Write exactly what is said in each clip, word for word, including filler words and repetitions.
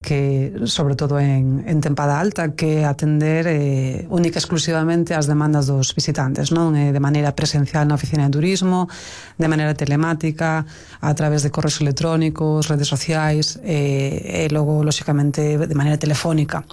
que, sobre todo en, en tempada alta, que atender eh, única e exclusivamente as demandas dos visitantes, non? Eh, de maneira presencial na oficina de turismo, de maneira telemática, a través de correos electrónicos, redes sociais, eh, e logo, lóxicamente, de maneira telefónica.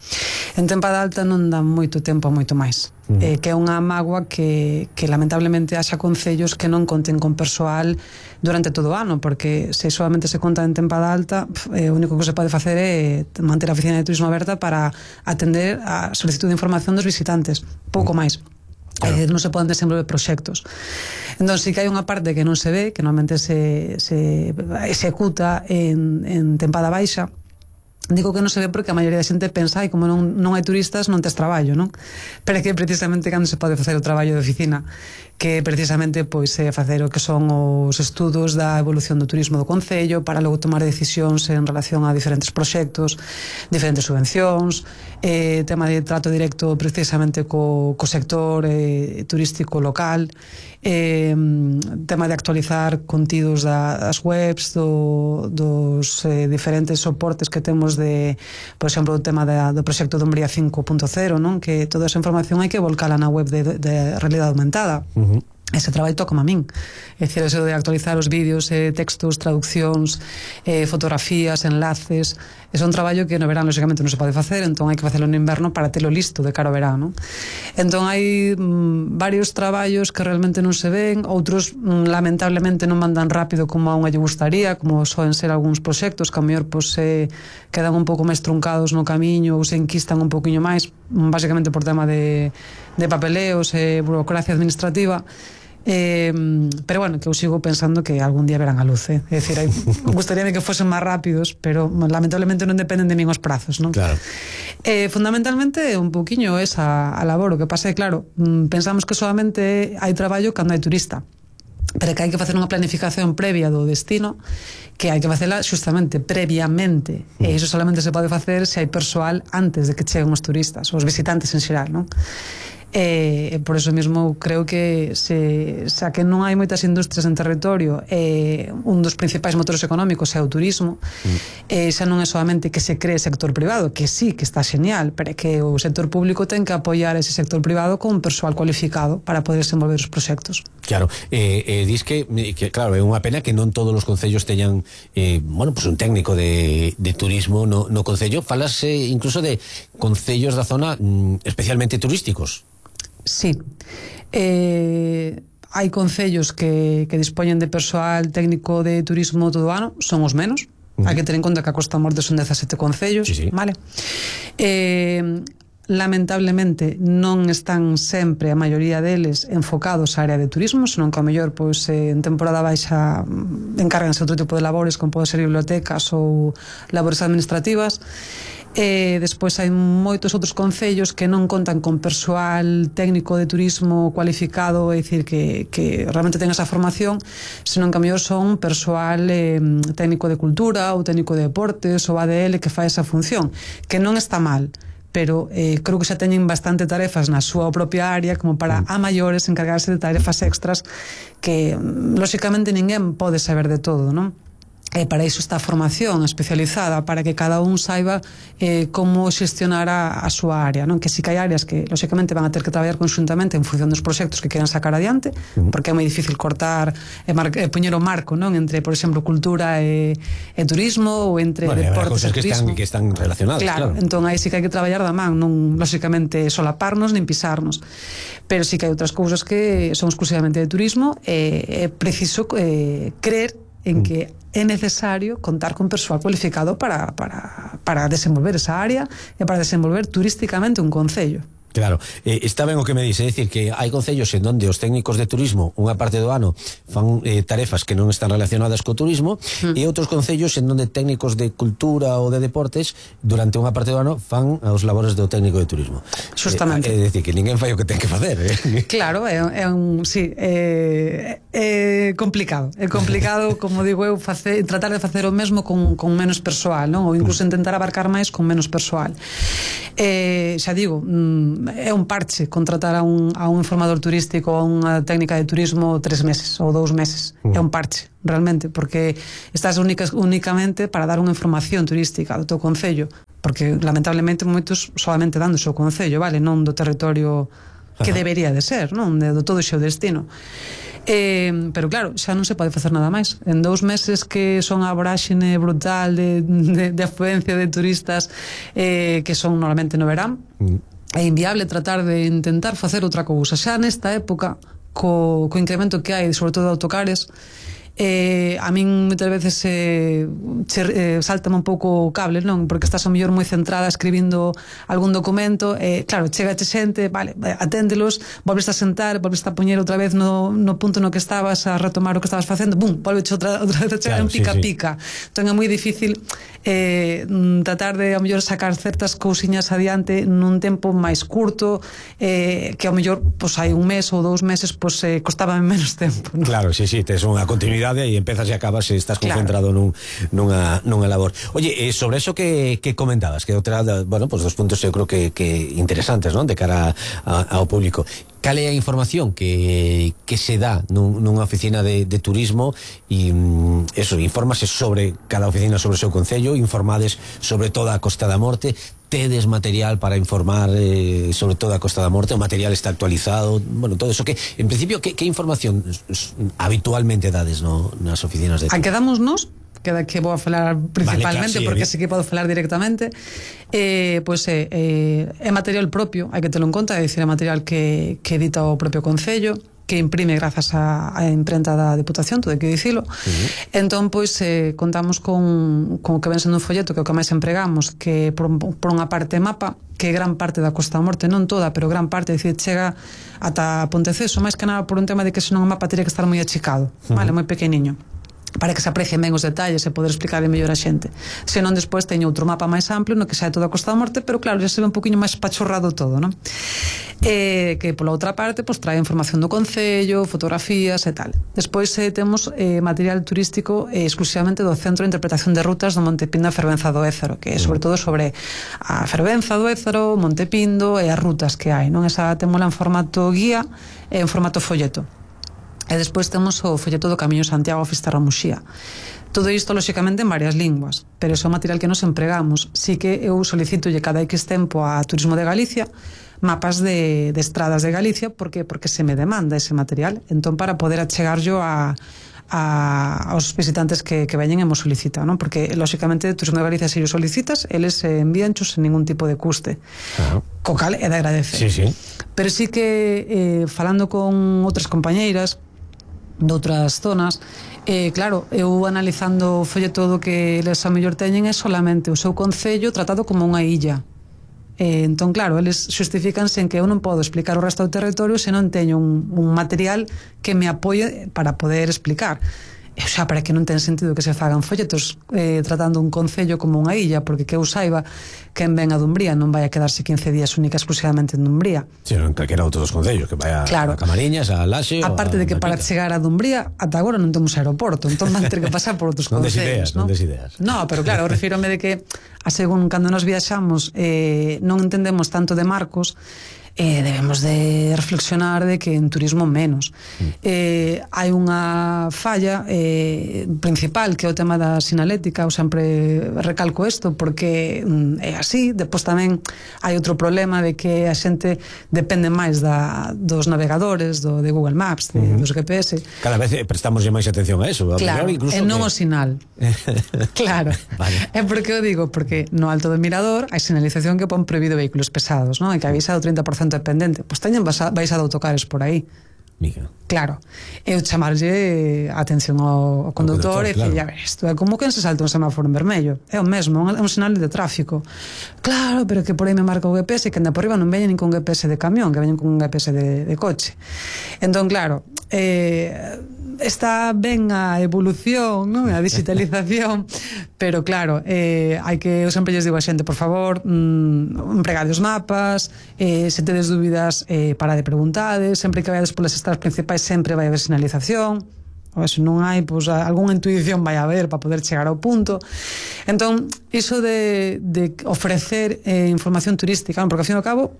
En tempada alta non dá moito tempo a moito máis. Uh-huh. eh, que é unha mágoa que, que lamentablemente haxa concellos que non conten con persoal durante todo o ano, porque se solamente se conta en tempada alta, eh, o único que se pode facer é manter a oficina de turismo aberta para atender a solicitud de información dos visitantes, pouco máis. Claro. Eh, non se poden desenvolver proxectos. Entón, si que hai unha parte que non se ve, que normalmente se, se executa en, en tempada baixa. Digo que non se ve porque a maioría da xente pensa, ai, como non, non hai turistas, non tes traballo, non? Pero é que precisamente cando se pode facer o traballo de oficina, que precisamente pois é facer o que son os estudos da evolución do turismo do concello para logo tomar decisións en relación a diferentes proxectos, diferentes subvencións, eh, tema de trato directo precisamente co, co sector eh, turístico local, eh, tema de actualizar contidos da, das webs do, dos eh, diferentes soportes que temos de, por exemplo, o tema da, do proxecto de Umbría cinco punto cero, non? Que toda esa información hai que volcala na web de, de realidade aumentada. Uh-huh. Ese traballo toca a min, é dicir, eso de actualizar os vídeos, eh, textos, traduccións, eh, fotografías, enlaces, é un traballo que no verán lógicamente non se pode facer, entón hai que facelo no inverno para telo listo de cara ao verano. Entón hai mm, varios traballos que realmente non se ven, outros mm, lamentablemente non mandan rápido como a unha lle gustaría, como soen ser algúns proxectos que a mellor pois, eh, quedan un pouco máis truncados no camiño ou se enquistan un pouquiño máis, basicamente por tema de, de papeleos e eh, burocracia administrativa. Eh, pero bueno, que eu sigo pensando que algún día verán a luz, eh? É dicir, hai, gustaríame que fosen máis rápidos, pero lamentablemente non dependen de min os prazos, non? Claro. Eh, fundamentalmente un pouquiño esa a labor, o que pasa é, claro, pensamos que solamente hai traballo cando hai turista, pero que hai que facer unha planificación previa do destino, que hai que facela justamente previamente, mm. e iso solamente se pode facer se hai persoal antes de que cheguen os turistas, os visitantes en xeral, non? E por eso mesmo creo que se, xa que non hai moitas industrias en territorio, e un dos principais motores económicos é o turismo, mm. e xa non é solamente que se cree sector privado, que sí, que está genial, pero é que o sector público ten que apoiar ese sector privado con un persoal cualificado para poder desenvolver os proxectos. Claro, eh, eh, dis que, que claro, é unha pena que non todos os concellos teñan eh, bueno, pues un técnico de, de turismo no, no concello. Falase incluso de concellos da zona mm, especialmente turísticos. Sí, eh, hai concellos que, que dispoñen de persoal técnico de turismo todo o ano, son os menos. Uh-huh. Hai que ter en conta que a Costa Morte son dezasete concellos, sí, sí. Vale? Eh, lamentablemente non están sempre a maioría deles enfocados á área de turismo, senón que ao mellor pois, en temporada baixa encárganse outro tipo de labores, como pode ser bibliotecas ou labores administrativas. E despois hai moitos outros concellos que non contan con persoal técnico de turismo cualificado, é dicir, que, que realmente ten esa formación, senón que a mellor son persoal eh, técnico de cultura ou técnico de deportes ou A D L que fai esa función, que non está mal, pero eh, creo que xa teñen bastante tarefas na súa propia área como para a maiores encargarse de tarefas extras que, lóxicamente, ninguén pode saber de todo, non? E para iso está a formación especializada, para que cada un saiba eh, como xestionar a, a súa área, non? Que si que hai áreas que, lóxicamente, van a ter que traballar conxuntamente en función dos proxectos que queran sacar adiante, uh-huh. porque é moi difícil cortar e, mar, e poñer o marco, non? Entre, por exemplo, cultura e, e turismo, ou entre bueno, deportes e turismo. Que están, que están relacionadas, claro, claro. Entón aí sí que hai que traballar da man, non, lóxicamente, solaparnos nin pisarnos. Pero sí que hai outras cousas que son exclusivamente de turismo e é preciso eh, creer en que é necesario contar con persoal cualificado para, para, para desenvolver esa área e para desenvolver turísticamente un concello. Claro, eh, está ben o que me dice, é dicir que hai concellos en donde os técnicos de turismo unha parte do ano fan eh, tarefas que non están relacionadas co turismo mm. e outros concellos en donde técnicos de cultura ou de deportes durante unha parte do ano fan os labores do técnico de turismo. Justamente. É eh, dicir que ninguén fai o que ten que facer, eh? Claro, é, é un, sí, é, é complicado, é complicado, como digo eu, facer, tratar de facer o mesmo con, con menos persoal, non? Ou incluso intentar abarcar máis con menos persoal. Eh, xa digo, mm, é un parche contratar a un, a un informador turístico, a unha técnica de turismo tres meses ou dous meses, uh. é un parche realmente, porque estás únicas, únicamente para dar unha información turística do teu concello, porque lamentablemente moitos solamente dan do seu concello, vale, non do territorio que debería de ser, non, de, do todo o seu destino. Eh, pero claro, xa non se pode facer nada máis. En dous meses que son a voráxine brutal de, de, de afluencia de turistas, eh, que son normalmente no verán, mm. é inviable tratar de intentar facer outra cousa. Xa nesta época, co, co incremento que hai, sobre todo de autocares, eh, a min moitas veces eh, che, eh, saltame un pouco o cable, non? Porque estás a mellor moi centrada escribindo algún documento, eh, claro, chega che xente, vale, aténdelos, volves a sentar, volves a poñer outra vez no, no punto no que estabas a retomar o que estabas facendo, bum, volves outra, outra vez a chegar, claro, en pica sí, pica sí. Entón é moi difícil eh, tratar de a mellor sacar certas cousiñas adiante nun tempo máis curto, eh, que a mellor pois, hai un mes ou dous meses pois, eh, costaba menos tempo, non? Claro, sí, sí, tes unha continuidade e empezas e acabas e estás concentrado claro. nun, nunha, nunha labor. Oye, eh, sobre eso que, que comentabas, que outra, bueno, pues dos puntos eu creo que, que interesantes, non? De cara a, ao público. Cal é a información que, que se dá nun, nunha oficina de, de turismo e eso, infórmase sobre cada oficina sobre o seu concello, informades sobre toda a Costa da Morte, tedes material para informar eh, sobre toda a Costa da Morte, o material está actualizado, bueno, todo eso que, en principio, que, que información habitualmente dades no, nas oficinas de turismo? A quedamos nos que que vou a falar principalmente, vale, claro, sí, porque sí que podo falar directamente, eh, pois pues, eh, é material propio, hai que telo en conta, é dicir, é material que, que edita o propio concello, que imprime grazas á, á imprenta da Deputación, todo hai que dicilo. Uh-huh. Entón, pois, eh, contamos con, con o que ven sendo un folleto, que é o que máis empregamos, que por, por unha parte mapa, que é gran parte da Costa da Morte, non toda, pero gran parte, é dicir, chega ata Ponteceso, máis que nada por un tema de que senón o mapa teria que estar moi achicado, uh-huh. vale, moi pequeniño, para que se aprecien ben os detalles e poder explicarle mellor a xente. Senón despois teño outro mapa máis amplio no que xa é toda a Costa da Morte, pero claro, xa se ve un poquinho máis pachorrado todo, non? Eh, que pola outra parte pois trae información do concello, fotografías e tal. Despois eh, temos eh, material turístico eh, exclusivamente do Centro de Interpretación de Rutas do Monte Pindo a Fervenza do Ézaro, que é sobre todo sobre a Fervenza do Ézaro, Monte Pindo e as rutas que hai, non? Esa temola en formato guía e en formato folleto. E despois temos o folleto do Camiño Santiago a Fisterra-Muxía. Todo isto, lóxicamente, en varias linguas, pero é o material que nos empregamos. Si que eu solicitolle cada X tempo a Turismo de Galicia mapas de, de estradas de Galicia, porque porque se me demanda ese material, entón para poder achegar yo a A, aos visitantes que, que veñen e mo solicitan, non? Porque lóxicamente Turismo de Galicia, se yo solicitas, eles eh, envíanchos sen ningún tipo de custe, claro. Co cal é de agradecer. Sí, sí. Pero sí que eh, falando con outras compañeiras de outras zonas, eh, claro, eu analizando o folleto do que eles a mellor teñen é solamente o seu concello tratado como unha illa. Eh, entón, claro, eles justifícanse en que eu non podo explicar o resto do territorio se non teño un, un material que me apoie para poder explicar. E xa, para que non ten sentido que se fagan folletos eh, tratando un concello como unha illa, porque que eu saiba, quen ven a Dumbría non vai a quedarse quince días única exclusivamente en Dumbría. Si, non calquera outro dos concellos, que vai a, claro. a Camariñas, a Laxe, aparte de que para chegar a Dumbría ata agora non temos aeroporto, entón van ter que pasar por outros concellos, ideas, non? Non des ideas. No, pero claro, refírome de que a según cando nos viaxamos eh, non entendemos tanto de marcos, eh, debemos de reflexionar de que en turismo menos. Mm. Eh, hai unha falla eh, principal, que é o tema da sinalética. Eu sempre recalco isto porque mm, é así. Depois tamén hai outro problema de que a xente depende máis da, dos navegadores, do, de Google Maps, de, mm-hmm. dos G P S. Cada vez prestamoslle máis atención a eso. A claro, incluso e non que... o sinal. Claro. Vale. É porque eu digo, porque no alto do Mirador hai sinalización que pon prohibido vehículos pesados, non? E que avisa do trinta por cento dependente, pois teñen baixado autocares por aí. Mica. Claro, eu chamarlle a atención ao, ao condutor e dicir, claro. Isto é como quen se salta un semáforo en vermello, é o mesmo, é un sinal de tráfico. Claro, pero que por aí me marca o G P S, que anda por riba non veñen nin con G P S de camión, que veñen con un G P S de, de coche. Entón, claro, eh, está ben a evolución, non? A digitalización, pero claro, eh, hai que, eu sempre lles digo a xente, por favor, mmm, empregade os mapas, eh, se tedes dúbidas, eh, para de preguntades, sempre que vayades polas estradas principais sempre vai haber sinalización, ou se non hai, pois, algunha intuición vai haber para poder chegar ao punto. Entón, iso de, de ofrecer eh, información turística, porque ao fin e ao cabo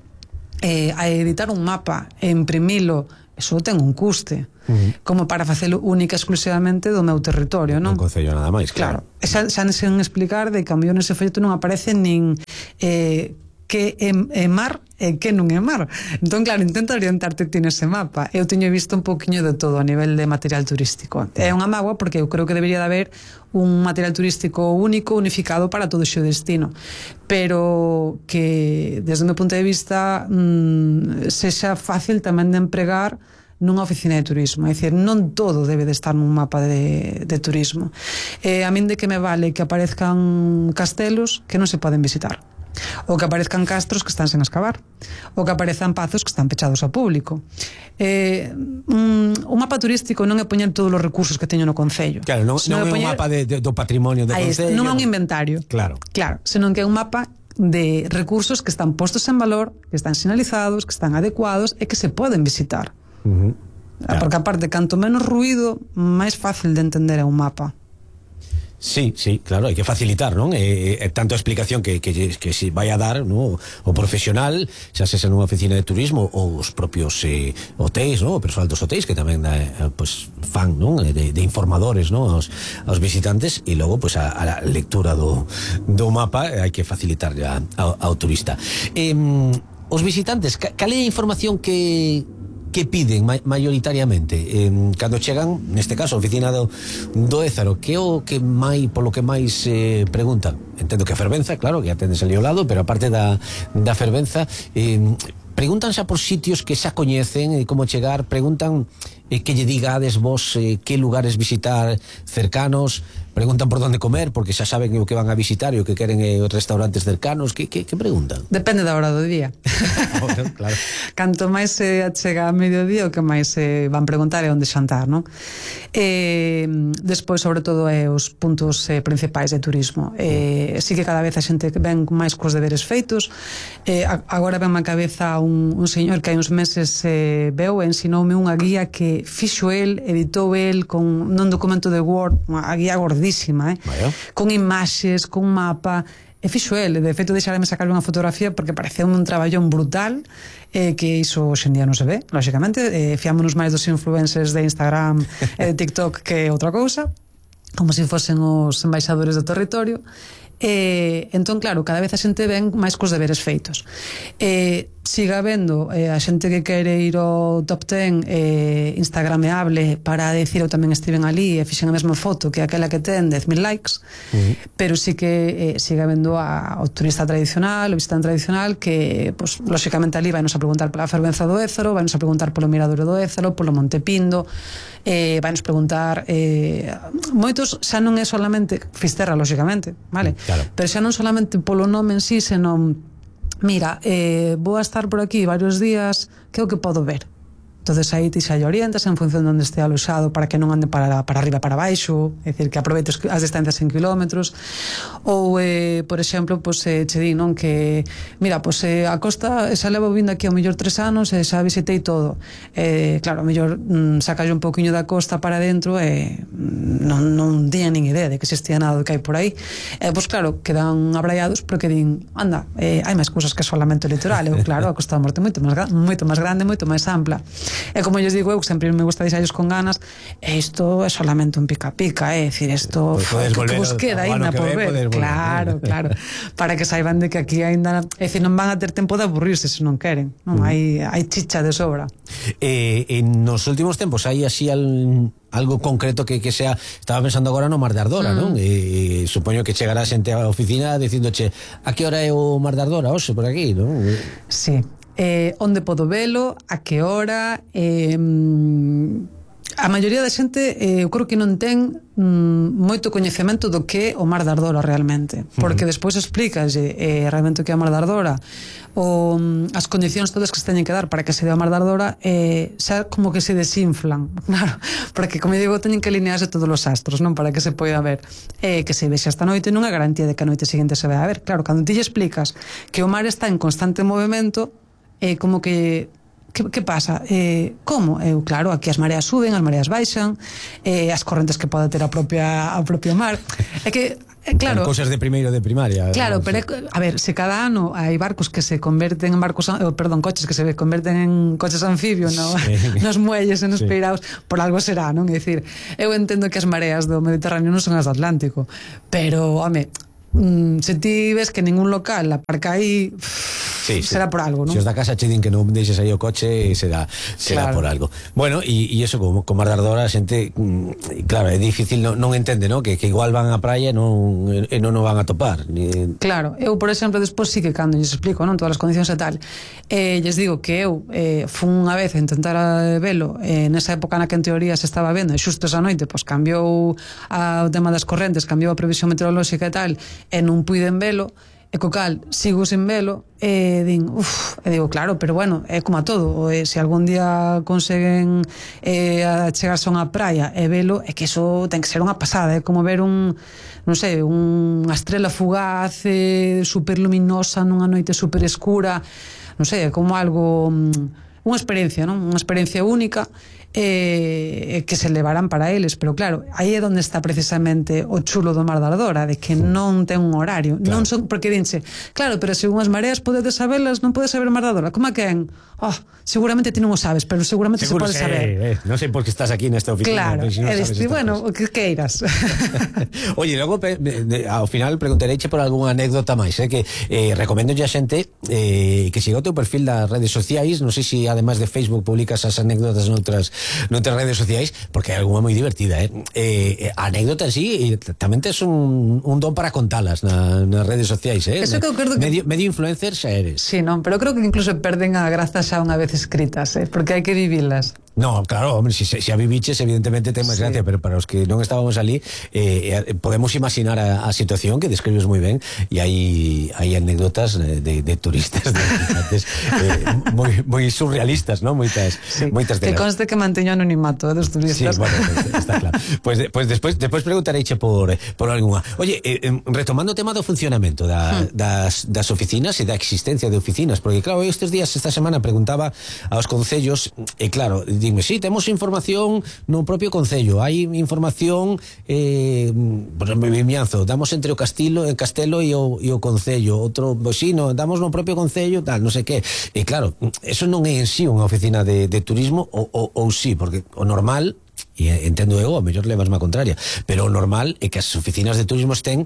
eh, a editar un mapa e imprimilo, eso ten un custe. Uh-huh. Como para facelo única exclusivamente do meu territorio, non? Non concello nada máis, claro. Claro. Xa, xa sen explicar de que a mellor nese folleto non aparece nin eh, que é, é mar e que non é mar. Entón, claro, intenta orientarte ti nese mapa. Eu teño visto un pouquiño de todo a nivel de material turístico. É unha mágoa porque eu creo que debería de haber un material turístico único, unificado para todo o seu destino. Pero que, desde o meu punto de vista, mmm, sexa fácil tamén de empregar nunha oficina de turismo, é dicir, non todo debe de estar nun mapa de, de turismo. Eh, a min de que me vale que aparezcan castelos que non se poden visitar, ou que aparezcan castros que están sen excavar, ou que aparezcan pazos que están pechados ao público. Eh, un, un mapa turístico non é poñer todos os recursos que teño no concello. Claro, non, non é poñer, un mapa de, de, do patrimonio do concello. Non é un inventario. Claro. Claro, senón que é un mapa de recursos que están postos en valor, que están sinalizados, que están adecuados e que se poden visitar. Uh-huh. Claro. Porque aparte, canto menos ruido, máis fácil de entender é un mapa. Sí, sí, claro, hai que facilitar, non? E, e tanto a explicación que, que, que se vai a dar, non? O profesional, xa se nunha oficina de turismo ou os propios eh, hotéis, non? O persoal dos hotéis que tamén eh, pues, fan, non? De, de informadores, non? Aos, aos visitantes, e logo pues, a, a lectura do, do mapa hai que facilitar ya ao, ao turista. Eh, os visitantes, cal é a información que que piden ma mayoritariamente eh, cando chegan, neste caso, a oficina do, do Ézaro? Que é o que máis, polo que máis eh, preguntan? Entendo que a fervenza, claro, que atendes ali ao lado, pero aparte da, da fervenza, eh, preguntan xa por sitios que xa coñecen, e como chegar, preguntan eh, que lle digades vos eh, que lugares visitar cercanos, preguntan por onde comer, porque xa saben o que van a visitar e o que queren eh, os restaurantes cercanos. Que, que, que preguntan? Depende da hora do día. Bueno, claro. Canto máis se eh, chega a mediodía, o que máis se eh, van preguntar é onde xantar, non? Eh, despois, sobre todo, é os puntos eh, principais de turismo. Eh, sí que cada vez a xente ven máis cos deberes feitos. Eh, agora ven má cabeza un, un señor que hai uns meses eh, veu e ensinoume unha guía que fixo el, editou el con nun documento de Word, unha guía gordísima, eh? Con imaxes, con mapa, e fixo el. De feito, deixarame sacar unha fotografía porque pareceu un traballón brutal, eh, que iso hoxe en día non se ve, lóxicamente. Eh, fiámonos máis dos influencers de Instagram e de TikTok que outra cousa, como se fosen os embaixadores do territorio. Eh, entón, claro, cada vez a xente ven máis cos deberes feitos. Eh, siga vendo eh, a xente que quere ir ao top ten eh, instagrameable para decir eu tamén estiven ali e fixen a mesma foto que aquela que ten dez mil likes. Uh-huh. Pero sí que eh, siga vendo a, o turista tradicional, o visitante tradicional que, pues, lóxicamente ali vai nos a preguntar pola fervenza do Ézaro, vai nos a preguntar polo Miradouro do Ézaro, polo Monte Pindo, eh, vai nos preguntar eh, moitos xa non é solamente Fisterra, lóxicamente, vale? Claro. Pero xa non solamente polo nome en sí, senón mira, eh, vou a estar por aquí varios días, que é o que podo ver? Entonces aí ti xa lle orientas en función de onde este aloxado para que non ande para, para arriba para baixo, é dicir, que aproveite as distancias en kilómetros. Ou, eh, por exemplo, pues, eh, che di, non, que mira, pues, eh, a costa xa levo vindo aquí ao mellor tres anos e xa visitei todo. Eh, claro, ao mellor mm, sacalle un pouquiño da costa para dentro e mm, non, non tiña nin idea de que existía nada do que hai por aí. Eh, pues claro, quedan abraiados porque din, anda, eh, hai máis cousas que solamente o litoral. Eu, claro, a Costa da Morte moito máis, moito máis grande, moito máis ampla. E como eu digo, eu sempre me gusta deixarlos con ganas, e isto é solamente un pica-pica, é dicir, isto pues que, que vos queda ainda por ver. Claro, claro, para que saiban de que aquí ainda, é dicir, non van a ter tempo de aburrirse se non queren, non? Mm. Hai, hai chicha de sobra. Eh, en nos últimos tempos hai así al, algo concreto que, que sea, estaba pensando agora no Mar de Ardora, mm. non? E, supoño que chegará xente á oficina dicindoche, a que hora é o Mar de Ardora, hoxe, por aquí, non? Sí. Eh, onde podo velo, a que hora, eh, a maioría da xente eh, eu creo que non ten mm, moito coñecemento do que é o Mar de Ardora realmente, porque uh -huh. despois explícalle eh, realmente o que é o Mar de Ardora, o, as condicións todas que se teñen que dar para que se dé o Mar de Ardora, eh, xa como que se desinflan, claro, porque como digo, teñen que alinearse todos os astros, non, para que se poida ver, eh, que se vexa esta noite non é garantía de que a noite seguinte se vai a ver. Claro, cando ti lle explicas que o mar está en constante movimento, eh, como que que, que pasa? Eh, como? Eu, claro, aquí as mareas suben, as mareas baixan, eh, as correntes que pode ter a propia, a propia mar. É que Eh, claro, cosas de primeiro de primaria. Claro, no, pero sí. a ver, se cada ano hai barcos que se converten en barcos, oh, perdón, coches que se converten en coches anfibios, no, sí. nos muelles e nos sí. peiraos, por algo será, non? É dicir, eu entendo que as mareas do Mediterráneo non son as do Atlántico, pero, home, mm, se ti ves que ningún local aparca aí, sí, será sí. por algo, non? Se os da casa che din que non deixes aí o coche, será será claro. por algo. Bueno, e eso como como Ardardora a xente, claro, é difícil, non, non entende, ¿no? Que, que igual van á praia e non e non o van a topar. Ni... Claro, eu por exemplo despois sí que cando lles explico, non, todas as condicións e tal. Eh, lles digo que eu eh, fun unha vez a intentar a velo eh, nesa época na que en teoría se estaba vendo e xusto esa noite pois cambiou a, o tema das correntes, cambiou a previsión meteorolóxica e tal, e non puiden velo. E co cal, sigo sin velo e din, uff, e digo, claro, pero bueno, é como a todo, e se algún día conseguen eh, chegarse a unha praia e velo, é que eso ten que ser unha pasada, é como ver un, non sei, unha estrela fugaz eh, super luminosa nunha noite super escura, non sei, é como algo, unha experiencia, non? Unha experiencia única eh, que se levarán para eles, pero claro, aí é onde está precisamente o chulo do Mar da Ardora, de que non ten un horario, claro. non son, porque dinse, claro, pero según as mareas podedes sabelas, non podes saber o Mar da Ardora, como a quen? Oh, seguramente ti non o sabes, pero seguramente seguro se pode sé, saber. Eh, non sei por que estás aquí nesta oficina. Claro, si no e diste, bueno, o que queiras. Oye, logo pe, de, ao final preguntareiche por algunha anécdota máis, eh, que eh, recomendo a xente eh, que siga o teu perfil das redes sociais, non sei se además de Facebook publicas as anécdotas noutras noutras redes sociais, porque hai algunha moi divertida, eh? Eh, a anécdota en sí, e tamén tes un, un don para contalas na, nas redes sociais, eh? Eso que eu creo que... Medio, medio influencer xa eres. Sí, non, pero creo que incluso perden a graza xa unha vez escritas, eh? Porque hai que vivilas. No, claro, hombre, si, si a viviches evidentemente ten máis sí. gracia, pero para os que non estábamos ali eh, eh, podemos imaginar a, a situación que describes moi ben, e hai hai anécdotas de, de turistas de visitantes eh, moi, moi surrealistas, ¿no? Moitas, sí. moitas de que conste que manteño anonimato eh, dos turistas. Sí, bueno, está claro. Pues, pues despois despois preguntareiche por por algunha. Oye, eh, retomando o tema do funcionamento da, hmm. das, das oficinas e da existencia de oficinas, porque claro, estes días, esta semana preguntaba aos concellos, e claro, dime, sí, temos información no propio concello, hai información eh, por exemplo, Vimianzo, damos entre o Castilo, el Castelo e o, e o concello, outro, pois sí, no, damos no propio concello, tal, non sei que. E claro, eso non é en sí unha oficina de, de turismo, ou, ou, ou sí, porque o normal, e entendo eu, a mellor levas má contraria, pero o normal é que as oficinas de turismo estén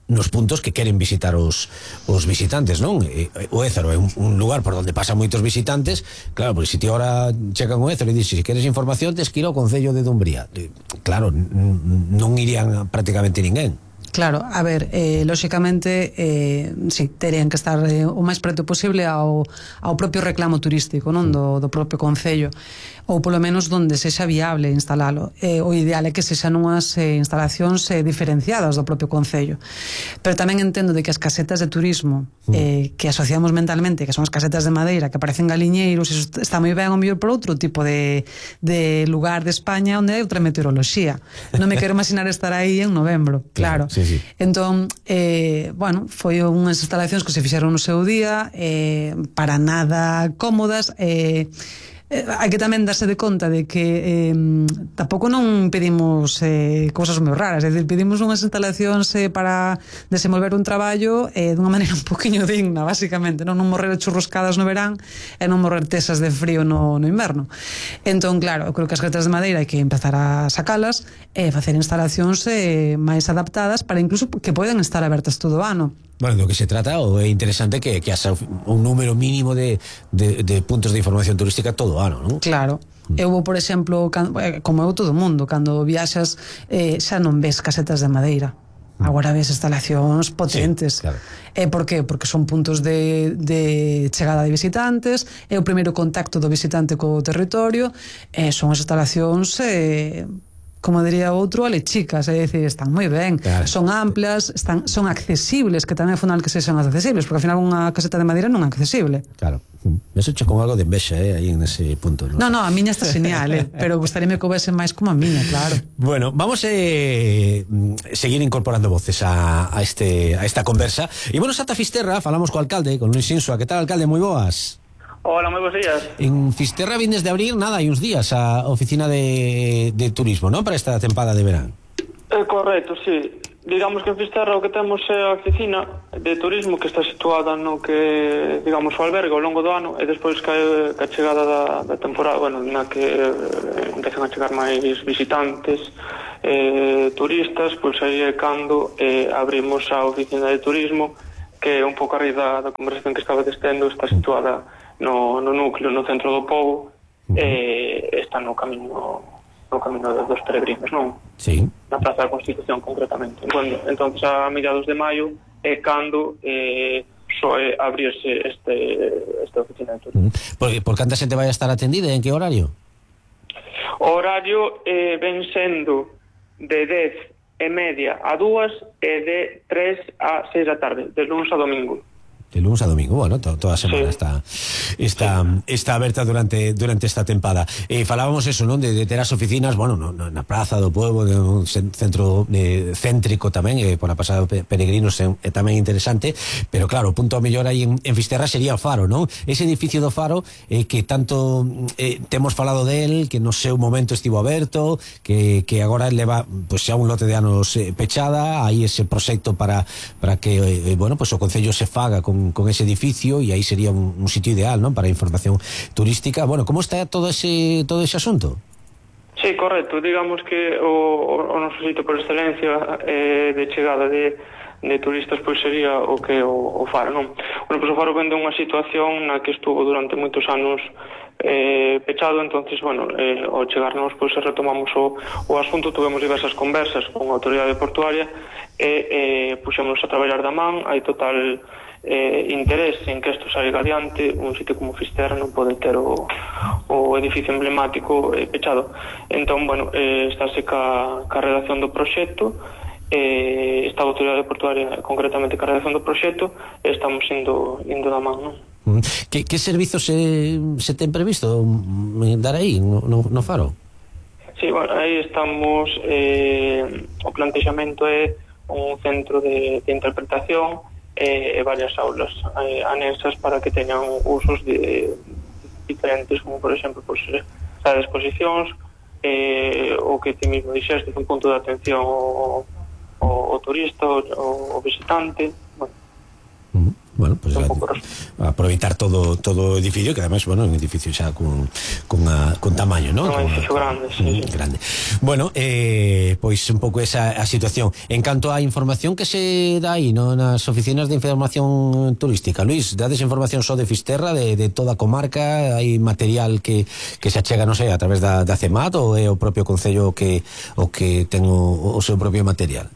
nos puntos que queren visitar os, os visitantes, non? E, o Ézaro é un, un lugar por onde pasan moitos visitantes, claro, porque se ti ahora checan o Ézaro e dixes, se queres información, tes que ir ao Concello de Dumbría. Claro, non irían prácticamente ninguén. Claro, a ver, eh, lóxicamente eh, sí, terían que estar eh, o máis preto posible ao, ao propio reclamo turístico, non? Do, do propio concello, ou polo menos donde sexa viable instalalo. Eh, o ideal é que sexan unhas eh, instalacións eh, diferenciadas do propio concello. Pero tamén entendo de que as casetas de turismo eh, que asociamos mentalmente, que son as casetas de madeira, que parecen galiñeiros, eso está moi ben o mellor por outro tipo de, de lugar de España onde hai outra meteoroloxía. Non me quero imaginar estar aí en novembro, claro. Sí, sí. Entón, eh, bueno, foi unhas instalacións que se fixeron no seu día, eh, para nada cómodas, eh, Eh, hai que tamén darse de conta de que eh, tampouco non pedimos eh, cousas moi raras, é dicir, pedimos unhas instalacións eh, para desenvolver un traballo eh, dunha maneira un poquinho digna, basicamente, non, non morrer churroscadas no verán e non morrer tesas de frío no, no inverno. Entón, claro, eu creo que as gretas de madeira hai que empezar a sacalas e facer instalacións eh, máis adaptadas para incluso que poden estar abertas todo o ano. Bueno, do que se trata, o é interesante que, que haxa un número mínimo de, de, de puntos de información turística todo o ano, non? Claro. Eu vou, por exemplo, como eu todo o mundo, cando viaxas eh, xa non ves casetas de madeira. Agora ves instalacións potentes. Sí, claro. E por qué? Porque son puntos de, de chegada de visitantes, é o primeiro contacto do visitante co territorio, e son as instalacións... Eh, como diría outro, alechicas, é dicir, están moi ben, claro. Son amplias, están, son accesibles, que tamén é fundamental que sexan accesibles, porque ao final unha caseta de madeira non é accesible. Claro. Me socho con algo de envexa, eh, aí en ese punto, ¿no? No, no, a miña está genial, eh, pero gustaríame que houvese máis como a miña, claro. Bueno, vamos a eh, seguir incorporando voces a, a, este, a esta conversa. E bueno, ata Fisterra, falamos co alcalde, con Luis Insua. Que tal, alcalde? Moi boas. Hola, moi bons días. En Fisterra vindes de abrir, nada, hai uns días a oficina de, de turismo, ¿no? Para esta tempada de verán. Eh, correcto, sí. digamos que en Fisterra o que temos é a oficina de turismo que está situada no que, digamos, o albergue ao longo do ano, e despois que a chegada da, da temporada, bueno, na que eh, empezan a chegar máis visitantes, eh, turistas, pois aí é cando eh, abrimos a oficina de turismo, que é un pouco a raíz da, da conversación que estaba testendo, está situada no, no núcleo, no centro do pobo, e eh, está no camino no camino dos peregrinos, non? Sí. Na Praza da Constitución, concretamente. Bueno, entonces a mediados de maio é cando eh, soe abrirse este, esta oficina de turismo. Por, por canta xente vai a estar atendida? En que horario? O horario eh, ven sendo de dez e media a dúas e de tres a seis da tarde, de lunes a domingo. De lunes a domingo, bueno, to, toda a semana sí. está está sí. está aberta durante durante esta tempada. Eh, falábamos eso, non, de, de ter as oficinas, bueno, no, no, na Praza do Pueblo, de un centro eh, céntrico tamén, eh, por a pasada peregrinos é, é tamén interesante, pero claro, o punto a mellor aí en, en Fisterra sería o Faro, non? Ese edificio do Faro eh, que tanto eh, temos falado del, que no seu momento estivo aberto, que, que agora leva pues, xa un lote de anos eh, pechada, aí ese proxecto para para que eh, bueno, pues o Concello se faga con con ese edificio e aí sería un, un sitio ideal, ¿no?, para información turística. Bueno, como está todo ese todo ese asunto? Sí, correcto. Digamos que o, o noso sitio por excelencia eh, de chegada de, de turistas pois sería o que o, o Faro, non? Bueno, pois o Faro vende unha situación na que estuvo durante moitos anos eh, pechado, entonces, bueno, eh, ao chegarnos, pois retomamos o, o asunto, tuvemos diversas conversas con a autoridade portuaria e eh, puxemos a traballar da man, hai total eh, interés en que isto salga adiante. Un sitio como Fisterra non pode ter o, o edificio emblemático eh, pechado. Entón, bueno, eh, estáse ca, ca redacción do proxecto, eh, está a autoridade portuaria concretamente ca redacción do proxecto, e estamos indo, indo da man, non? Que, que servizos se, se ten previsto dar aí no, no, no Faro? Sí, bueno, aí estamos, eh, o plantexamento é un centro de, de interpretación e eh, varias aulas eh, anexas para que teñan usos de, diferentes, como por exemplo pues, sala de exposicións, eh, o que ti mismo dixeste, un punto de atención ao, ao, ao turista, ao, ao visitante. Bueno, uh-huh. Bueno, pues a, a aproveitar todo todo o edificio, que además, bueno, é un edificio xa con con, a, con tamaño, ¿no? Un edificio grande, sí. Grande. Bueno, eh, pois un pouco esa a situación. En canto á información que se dá aí, no, nas oficinas de información turística, Luis, dades información só de Fisterra, de, de toda a comarca, hai material que, que se achega, non sei, a través da, da CEMAT, ou é o propio Concello que o que ten o, o seu propio material?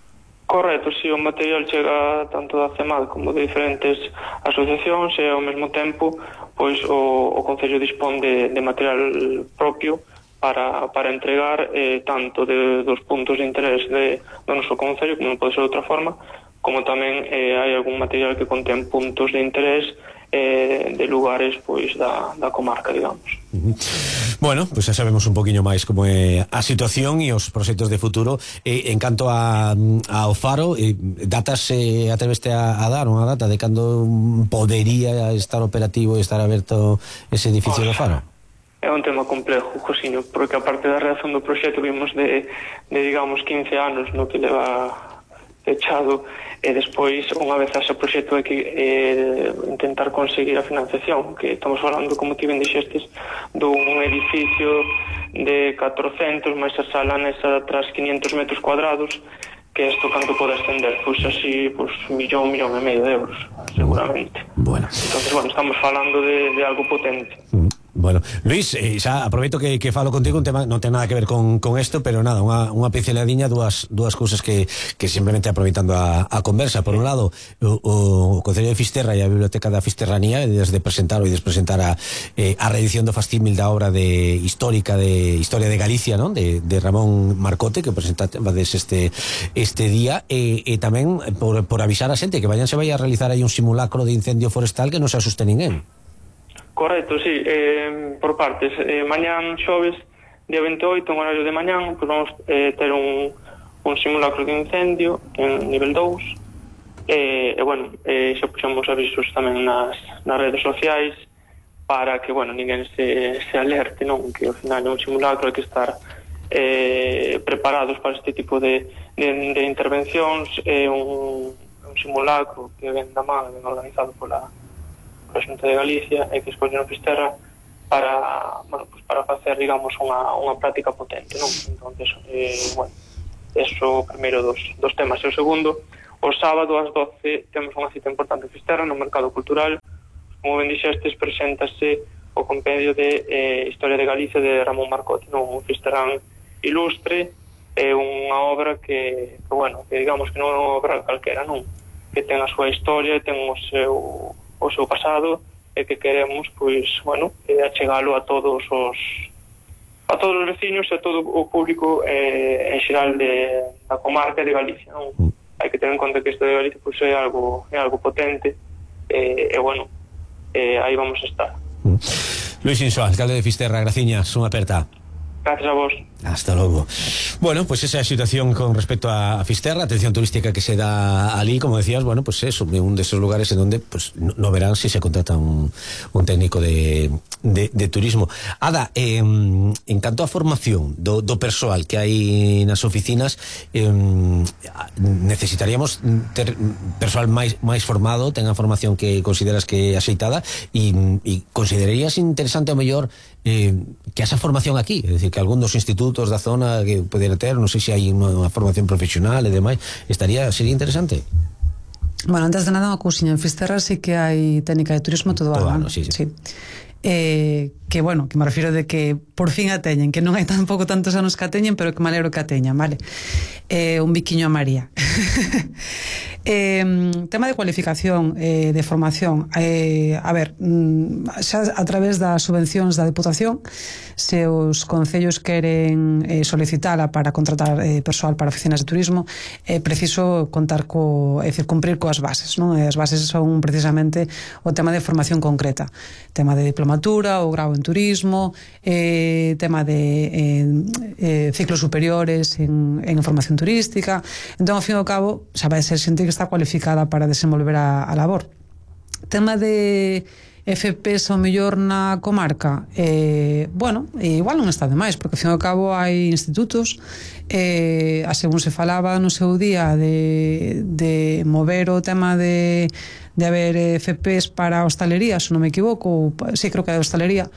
Correcto, si, sí, o material chega tanto da CEMAD como de diferentes asociacións e ao mesmo tempo pois o, o Concello dispón de, de material propio para, para entregar eh, tanto de, dos puntos de interés de, do noso Concello, como non pode ser de outra forma, como tamén eh, hai algún material que contén puntos de interés eh, de lugares pois da, da comarca, digamos. Uh-huh. Bueno, pues xa sabemos un poquinho máis como é a situación e os proxectos de futuro. Eh, en canto a, ao Faro, eh, datas eh, atreveste a, a dar unha data de cando podería estar operativo e estar aberto ese edificio do Faro? É un tema complejo, Josiño, porque a parte da reacción do proxecto vimos de, de digamos, quince anos no que leva pechado, e despois, unha vez ese proxecto, hai que eh, intentar conseguir a financiación, que estamos falando, como ti ben dixestes, dun edificio de catrocentos, máis a sala nesa tras quinientos metros cuadrados, que isto canto pode ascender, pois así, pois millón, millón e medio de euros, seguramente. Bueno. Entonces, bueno, estamos falando de, de algo potente. Mm. Bueno, Luis, eh, xa aproveito que, que falo contigo, un tema non ten nada que ver con, con esto, pero nada, unha, unha pinceladiña, dúas, dúas cousas que, que simplemente aproveitando a, a conversa. Por un lado, o, o Concello de Fisterra e a Biblioteca da Fisterranía, desde presentar e despresentar a, eh, a reedición do fastímil da obra de histórica de Historia de Galicia, non? De, de Ramón Marcote, que presentades este, este día, e, e tamén por, por avisar a xente que vayan se vai a realizar aí un simulacro de incendio forestal que non se asuste ninguén. Correcto, sí, eh, por partes. Eh, mañán xoves, día veintioito, en horario de mañán, pues vamos eh, ter un, un simulacro de incendio en nivel dous. E, eh, bueno, eh, xa puxamos avisos tamén nas, nas redes sociais para que, bueno, ninguén se, se alerte, non? Que ao final é un simulacro, hai que estar eh, preparados para este tipo de, de, de intervencións, é un, un simulacro que ven da man, ven organizado pola, pola Xunta de Galicia, e que escollen Fisterra para, bueno, pues para facer, digamos, unha, unha práctica potente, non? Entonces, eh, bueno, eso primeiro dos, dos temas. E o segundo, o sábado ás doce temos unha cita importante en Fisterra no Mercado Cultural. Como ben dixestes, preséntase o compendio de eh, Historia de Galicia de Ramón Marcote, non? Un fisterrán ilustre, é unha obra que, que, bueno, que digamos que non é unha obra calquera, non? Que ten a súa historia, ten o seu, o seu pasado, e que queremos, pois, bueno, eh, achegalo a todos os a todos os veciños e a todo o público eh, en xeral de, da comarca de Galicia, non? Mm. Hai que ter en conta que isto de Galicia pois, é algo é algo potente, e, e bueno, eh, aí vamos a estar. Mm. Luis Inso, alcalde de Fisterra, graciñas, unha aperta. Gracias a vos. Hasta logo. Bueno, pues esa situación con respecto a Fisterra, atención turística que se da allí, como decías, bueno, pues es un de esos lugares en donde pues no, no verán si se contrata un, un técnico de, de, de turismo. Ada, eh, en canto a formación do, do persoal que hai nas oficinas, eh, necesitaríamos ter persoal máis, máis formado, tenga formación que consideras que é axeitada, e, e considerarías interesante ao mellor eh, que esa formación aquí, é dicir, que algún dos institutos da zona que poder ter, non sei se hai unha formación profesional e demais, estaría, sería interesante. Bueno, antes de nada, unha cousiña, en Fisterra sí que hai técnica de turismo todo, todo ano, sí, sí. sí. Eh, que bueno, que me refiro de que por fin a teñen, que non hai tampouco tantos anos que a teñen, pero que me alegro que a teñan, vale? Eh, un biquiño a María. eh, tema de cualificación, eh, de formación, eh, a ver, xa a través das subvencións da Deputación, se os concellos queren eh, solicitala para contratar eh, persoal para oficinas de turismo, é eh, preciso contar co, é dicir, cumprir coas bases, non? E as bases son precisamente o tema de formación concreta, tema de diplomatura, o grau en turismo, eh, tema de eh, eh, ciclos superiores en, en formación turística. Entón, ao fin e ao cabo, xa vai ser xente que está cualificada para desenvolver a, a labor. Tema de F Ps ao mellor na comarca, eh, bueno, igual non está de máis, porque ao fin e ao cabo hai institutos, eh, a según se falaba no seu día de, de mover o tema de de haber F Ps para hostalería, se non me equivoco, sí, creo que é de hostalería,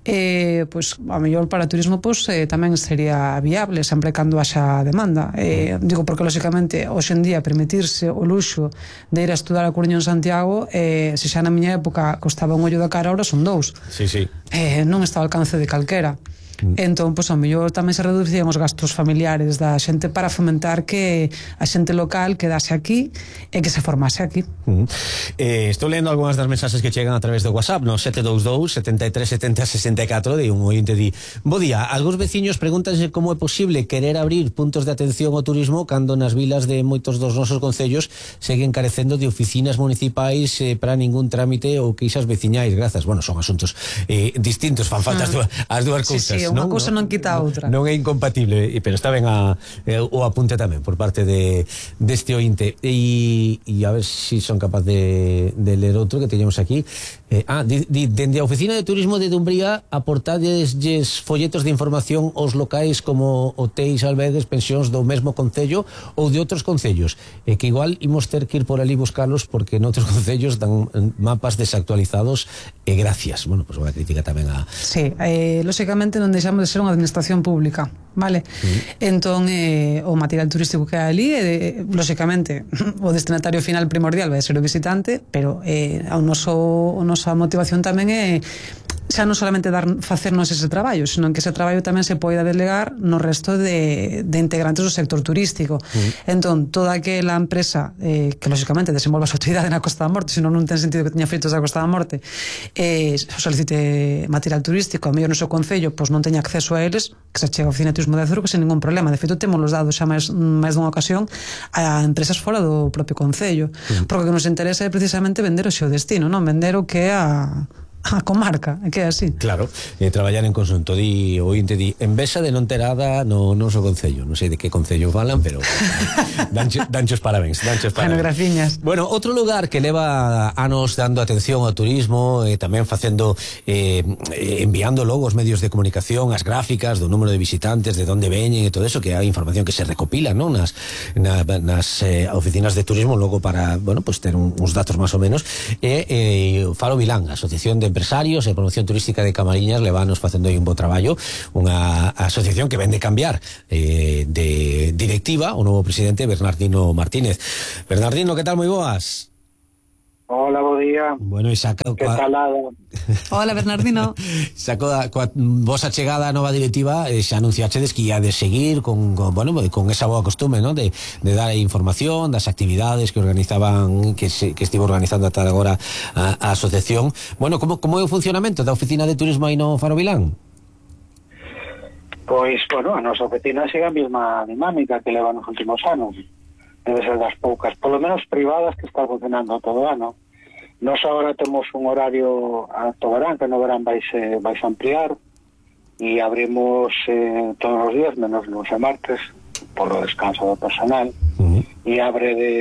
eh, pois, a mellor para turismo, pois, eh, tamén sería viable, sempre cando haxa demanda. Eh, digo, porque, lóxicamente, hoxe en día, permitirse o luxo de ir a estudar a Coruña en Santiago, eh, se xa na miña época costaba un ollo da cara, ahora son dous. Sí, sí. Eh, non está ao alcance de calquera. Entón, pois, ao mellor tamén se reducían os gastos familiares da xente para fomentar que a xente local quedase aquí e que se formase aquí. Uh -huh. eh, Estou lendo algunhas das mensaxes que chegan a través do WhatsApp, no sete dous dous, sete tres sete zero, seis catro, de un ointe di: bo día, algúns veciños pregúntanse como é posible querer abrir puntos de atención ao turismo cando nas vilas de moitos dos nosos concellos seguen carecendo de oficinas municipais eh, para ningún trámite ou queixas veciñais. Grazas. Bueno, son asuntos eh, distintos, fan falta as, as dúas cousas. Sí, sí, unha cousa non quita a outra. Non é incompatible, pero está ben a, eh, o apunte tamén por parte de deste ointe. E, e a ver se si son capaz de, de ler outro que teñamos aquí. Eh, ah, di, di, dende a Oficina de Turismo de Dumbría aportadesles folletos de información aos locais como hotéis, albergues, pensións do mesmo concello ou de outros concellos, e que igual imos ter que ir por ali buscarlos porque noutros concellos dan mapas desactualizados, e gracias. Bueno, pois pues unha crítica tamén a... Sí, eh, lóxicamente non deixamos de ser unha administración pública, vale? Mm. Entón, eh, o material turístico que hai ali, eh, lóxicamente, o destinatario final primordial vai ser o visitante, pero eh, o noso, o nosa motivación tamén é xa non solamente dar, facernos ese traballo, senón que ese traballo tamén se poida delegar no resto de, de integrantes do sector turístico. Mm. Entón, toda aquela empresa eh, que, lóxicamente, desenvolva a súa actividade na Costa da Morte, senón non ten sentido que teña fritos da Costa da Morte, eh, solicite material turístico, a mellor no seu concello, pois non teña acceso a eles, que se chega a Oficina de Turismo de Azuero, que sen ningún problema. De feito, temos los dados xa máis, máis dunha ocasión a empresas fora do propio concello. Mm. Porque o que nos interesa é precisamente vender o seu destino, non vender o que é a a comarca, é que é así. Claro, eh, traballar en conxunto. Di o ointe di, envexa de non ter ada no noso concello. Non sei de que concello falan, pero dancho, danchos parabéns, danchos parabéns. Bueno, graciñas. Bueno, outro lugar que leva anos dando atención ao turismo, e eh, tamén facendo eh, enviando logo os medios de comunicación, as gráficas do número de visitantes, de onde veñen e todo eso, que é información que se recopila, non, nas na, nas eh, oficinas de turismo, logo para, bueno, pues ter un, uns datos máis ou menos, e eh, Faro Vilán, a Asociación de Empresarios e Promoción Turística de Camariñas, levanos facendo aí un bo traballo, unha asociación que vende cambiar eh, de directiva o novo presidente Bernardino Martínez. Bernardino, que tal? Moi boas. Hola, bo día. Bueno, e saca que coa... talada. Hola, Bernardino. Saco da, coa vosa chegada a nova directiva, eh, xa anunciachedes que ia de seguir con, con, bueno, con esa boa costume, ¿no? de, de dar información das actividades que organizaban, que, se, que estivo organizando ata agora a, a asociación. Bueno, como, como é o funcionamento da oficina de turismo aí no Faro Vilán? Pois, bueno, a nosa oficina sigue a mesma dinámica que leva nos últimos anos. Debe ser das poucas, polo menos privadas, que está funcionando todo o ano. Nos agora temos un horario a todo verán, que no verán vais, eh, vais ampliar, e abrimos eh, todos os días, menos luns e martes, por o descanso do personal, uh-huh. e abre de,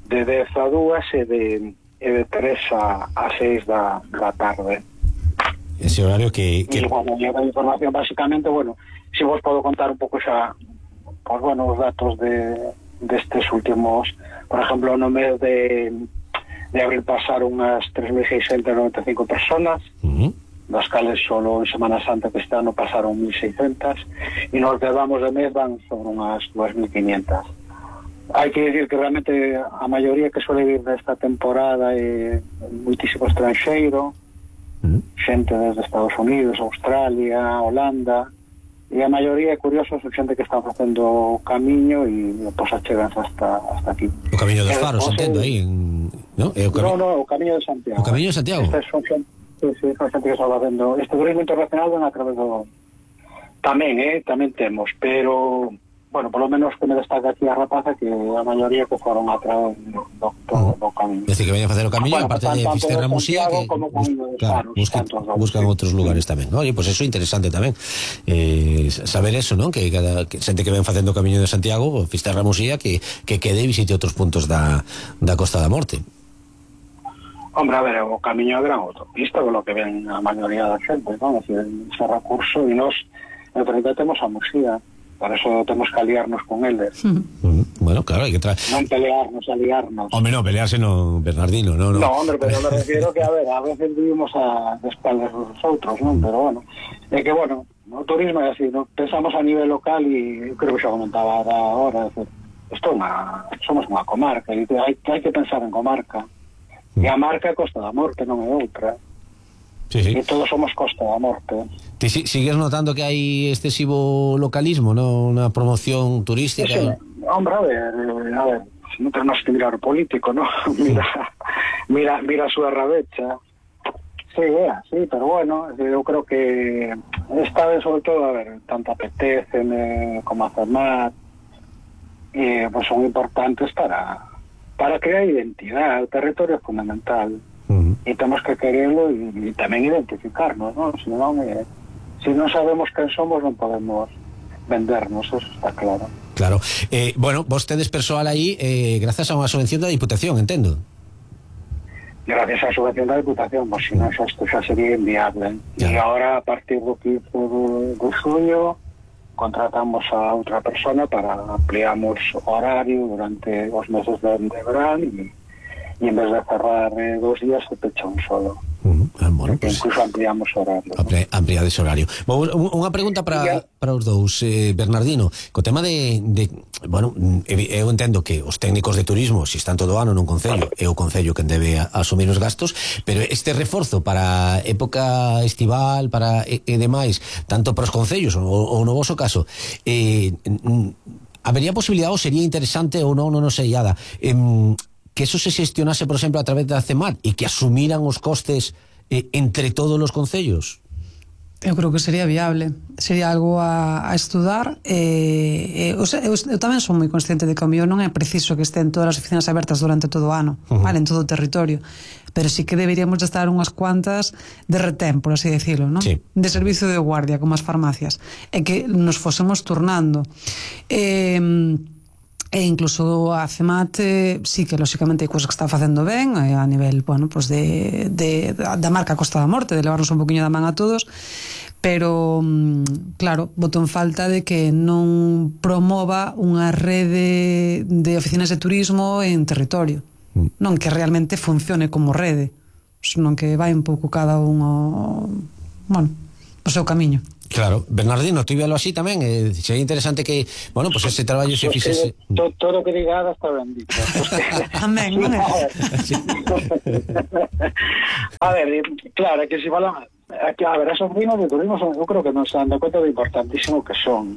de dez a dúas e de, e de tres a, a seis da, da tarde. Ese horario que... que... E, bueno, lleva información, básicamente, bueno, si vos podo contar un pouco xa, pues, bueno, os datos de destes últimos, por exemplo, no mes de... de abril pasaron unhas tres mil seiscentas noventa e cinco personas, uh-huh. das cales solo en Semana Santa que este ano pasaron mil seiscentas, e nos levamos de mes van sobre unhas dúas mil quinientas. Hai que decir que realmente a maioría que suele vir desta temporada é muitísimo estranxeiro, uh-huh. xente desde Estados Unidos, Australia, Holanda, e a maioría é curioso, son xente que está facendo o camiño e pois chegan hasta, hasta aquí. O Camiño dos Faros, entendo, aí en... ¿No? Eh, o cami... no, no, o Camiño de Santiago. O Camiño de Santiago? Esta son xente, sí, sí, son xente que está facendo este turismo internacional a través do... Tamén, eh, tamén temos, pero... Bueno, por lo menos que me destaca aquí a rapaza que a maioría que foron a través do, do, do camiño. É dicir, que veñen a facer o camiño, bueno, aparte de Fisterra Musía, que bus, claro, buscan, buscan outros lugares tamén. Oye, pois pues eso é interesante tamén. Eh, saber eso, non? Que cada que xente que ven facendo o camiño de Santiago, Fisterra Musía, que, que quede e visite outros puntos da, da Costa da Morte. Hombre, a ver, o camiño é gran autopista, con lo que ven a maioría da xente, non? É dicir, ese recurso, e nos, en frente temos a Musía. Por eso temos que aliarnos con eles. Mm. Bueno, claro, hai que traer... Non pelearnos, aliarnos. Hombre, no, pelearse no, Bernardino, no, no. No, hombre, pero me refiero que, a ver, a veces vivimos a de espaldas dos outros, non? Pero, bueno, é que, bueno, o turismo é así, ¿no? Pensamos a nivel local e creo que xa comentaba ahora, isto é unha, somos unha comarca, e hai, hai que pensar en comarca. Mm. E a marca é Costa da Morte, non é outra. Sí, sí. E todos somos Costa da Morte. Ti si, sigues notando que hai excesivo localismo, no? Una promoción turística? Sí, sí. Hombre, a ver, a ver, non tenemos que mirar o político, ¿no? mira, mira, mira a súa rabecha. Sí, é así, pero bueno, eu creo que esta vez, sobre todo, a ver, tanto apetece como a CEMAT, eh, pues son importantes para, para crear identidade. O territorio é fundamental. Uh-huh. E temos que quererlo e, e tamén identificarnos, non? Se non, eh, se non sabemos quen somos non podemos vendernos, eso está claro. Claro, eh, bueno, vos tedes persoal aí eh, grazas a unha subvención da Diputación, entendo. Gracias á subvención da Diputación, pois se non xa isto xa sería inviable. E agora a partir do quince de xullo contratamos a outra persona para ampliamos o horario durante os meses de, de verán e e en vez de cerrar eh, dos días se pecha un solo. Uh-huh. Ah, bueno, pues, incluso ampliamos horario. Ampli, ampliades horario. Unha pregunta para, para os dous, eh, Bernardino, co tema de, de bueno, eu entendo que os técnicos de turismo, se si están todo ano nun concello, é o concello quen debe asumir os gastos, pero este reforzo para época estival, para e, e demais, tanto para os concellos ou, ou no voso caso, eh, habería posibilidade ou sería interesante ou non, non, non sei, Ada, eh, que eso se xestionase, por exemplo, a través da CEMAT e que asumiran os costes eh, entre todos os concellos? Eu creo que sería viable, sería algo a, a estudar. eh, eh, eu, eu, eu tamén son moi consciente de que o mellor non é preciso que estén todas as oficinas abertas durante todo o ano, uh-huh. vale, en todo o territorio, pero sí que deberíamos de estar unhas cuantas de retén, por así decirlo, ¿no? Sí. De servicio de guardia, como as farmacias, e que nos fosemos turnando. eh, E incluso a CEMAT eh, sí que lóxicamente hai cousas que está facendo ben eh, a nivel, bueno, pues de, de, da marca Costa da Morte, de levarnos un poquinho da man a todos, pero claro, boto en falta de que non promova unha rede de oficinas de turismo en territorio, mm. non que realmente funcione como rede, non que vai un pouco cada un ao, bueno, o seu camiño. Claro, Bernardino, tú velo así tamén, eh, sería interesante que, bueno, pues ese traballo se fixese. Todo, todo que diga Ada está ben dito. Amén, non é? A ver, claro, que se falan, a ver, esos vinos de turismo son, eu creo que non se dan conta do importantísimo que son.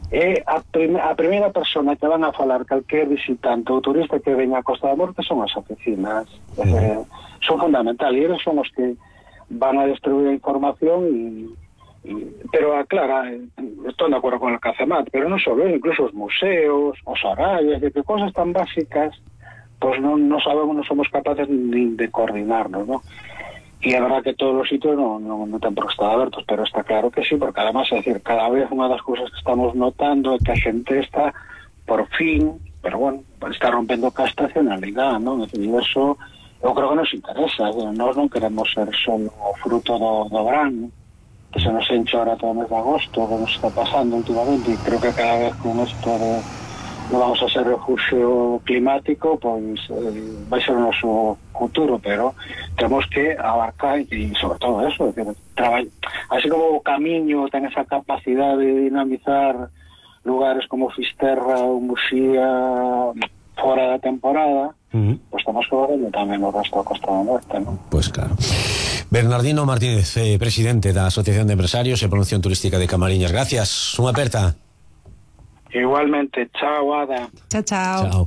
E a, prim a primeira persona que van a falar calquer visitante ou turista que veña a Costa da Morte son as oficinas. Uh -huh. eh, son fundamental, e eles son os que van a distribuir a información e pero aclara, estou de acordo con el CACEMAT, pero non só, incluso os museos, os horarios, de que cosas tan básicas pues non, non sabemos, non somos capaces ni de coordinarnos, ¿no? E é verdad que todos os sitios non, non, non ten por que estar abertos, pero está claro que sí, porque además, é decir, cada vez unha das cousas que estamos notando é que a xente está, por fin, pero bueno, está rompendo ca estacionalidade, ¿no? É decir, eso eu creo que nos interesa, nós non queremos ser só o fruto do, do verán, que se nos enche ahora todo o mes de agosto, que nos está pasando últimamente, e creo que cada vez con esto de non vamos a ser refugio climático, pois eh, vai ser o noso futuro, pero temos que abarcar e sobre todo eso, decir, así como o camiño ten esa capacidade de dinamizar lugares como Fisterra ou Muxía fora da temporada, uh-huh. pois temos que ver tamén o resto da Costa da Morte, non? Pois claro. Bernardino Martínez, eh, presidente da Asociación de Empresarios e Promoción Turística de Camariñas. Gracias, unha aperta. Igualmente, chao, Ada. Chao, chao. Chao.